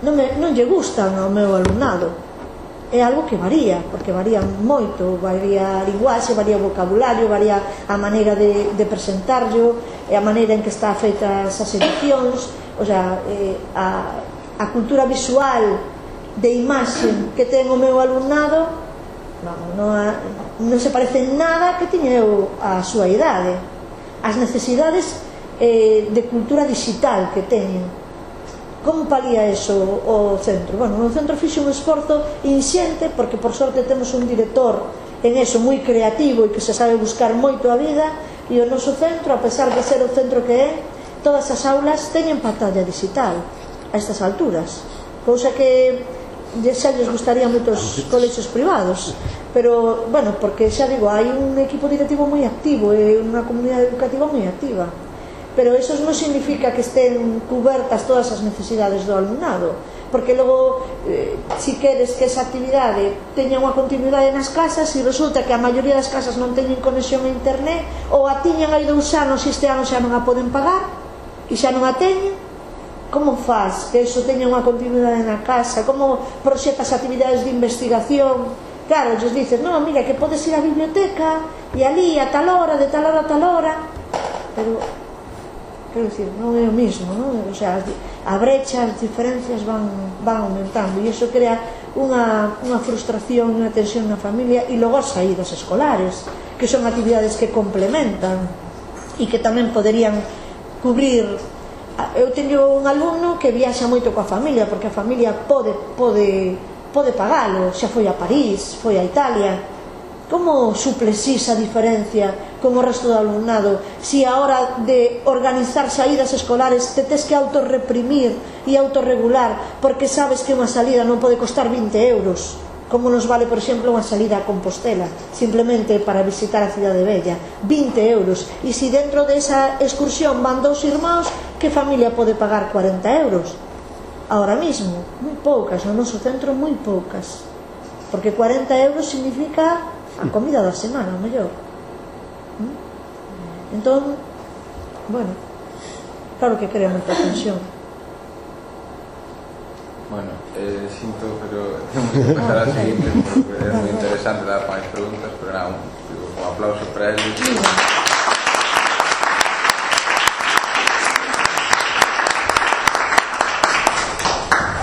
non, me, non lle gustan ao meu alumnado. É algo que varía, porque varía moito, varía a linguaxe, varía o vocabulario, varía a maneira de, de presentarlo, e a maneira en que está feitas as edicións, o sea, eh, a, a cultura visual de imaxe que ten o meu alumnado non, non, non se parece nada que tiña eu a súa idade. As necesidades eh, de cultura digital que teñen, como palía eso o centro? Bueno, o centro fixe un esforzo inxente, porque por sorte temos un director en eso moi creativo e que se sabe buscar moito a vida, e o noso centro, a pesar de ser o centro que é, todas as aulas teñen pantalla digital a estas alturas, cousa que xa lles gustaría moitos colexios privados, pero, bueno, porque xa digo, hai un equipo directivo moi activo e unha comunidade educativa moi activa, pero eso non significa que estén cubertas todas as necesidades do alumnado, porque logo eh, si queres que esa actividade teña unha continuidade nas casas e resulta que a maioría das casas non teñen conexión a internet ou a tiñan hai dous anos e este ano xa non a poden pagar e xa non a teñen, como faz que eso teña unha continuidade na casa? Como proxetas actividades de investigación? Claro, ellos dicen, no, mira, que podes ir á biblioteca e ali a tal hora, de tal hora a tal hora, pero quero dicir, non é o mismo, non? O sea, a brecha, as diferencias van, van aumentando e iso crea unha, unha frustración, unha tensión na familia e logo as saídas escolares, que son actividades que complementan e que tamén poderían cubrir. Eu teño un alumno que viaxa moito coa familia porque a familia pode, pode, pode pagalo, xa foi a París, foi a Italia. Como suples esa diferencia con o resto do alumnado si a hora de organizar saídas escolares te tes que autorreprimir e autorregular porque sabes que unha salida non pode costar vinte euros, como nos vale, por exemplo, unha salida a Compostela simplemente para visitar a Cidade Vella, vinte euros, e se dentro desa excursión van dous irmãos, que familia pode pagar cuarenta euros? Ahora mismo, moi poucas, no noso centro moi poucas, porque cuarenta euros significa a comida da semana, o mellor. Entón, bueno, claro que crea moita tensión. Bueno, eh, sinto, pero temos que pasar a seguinte porque é moi interesante dar máis preguntas, pero nada, un, un aplauso para eles.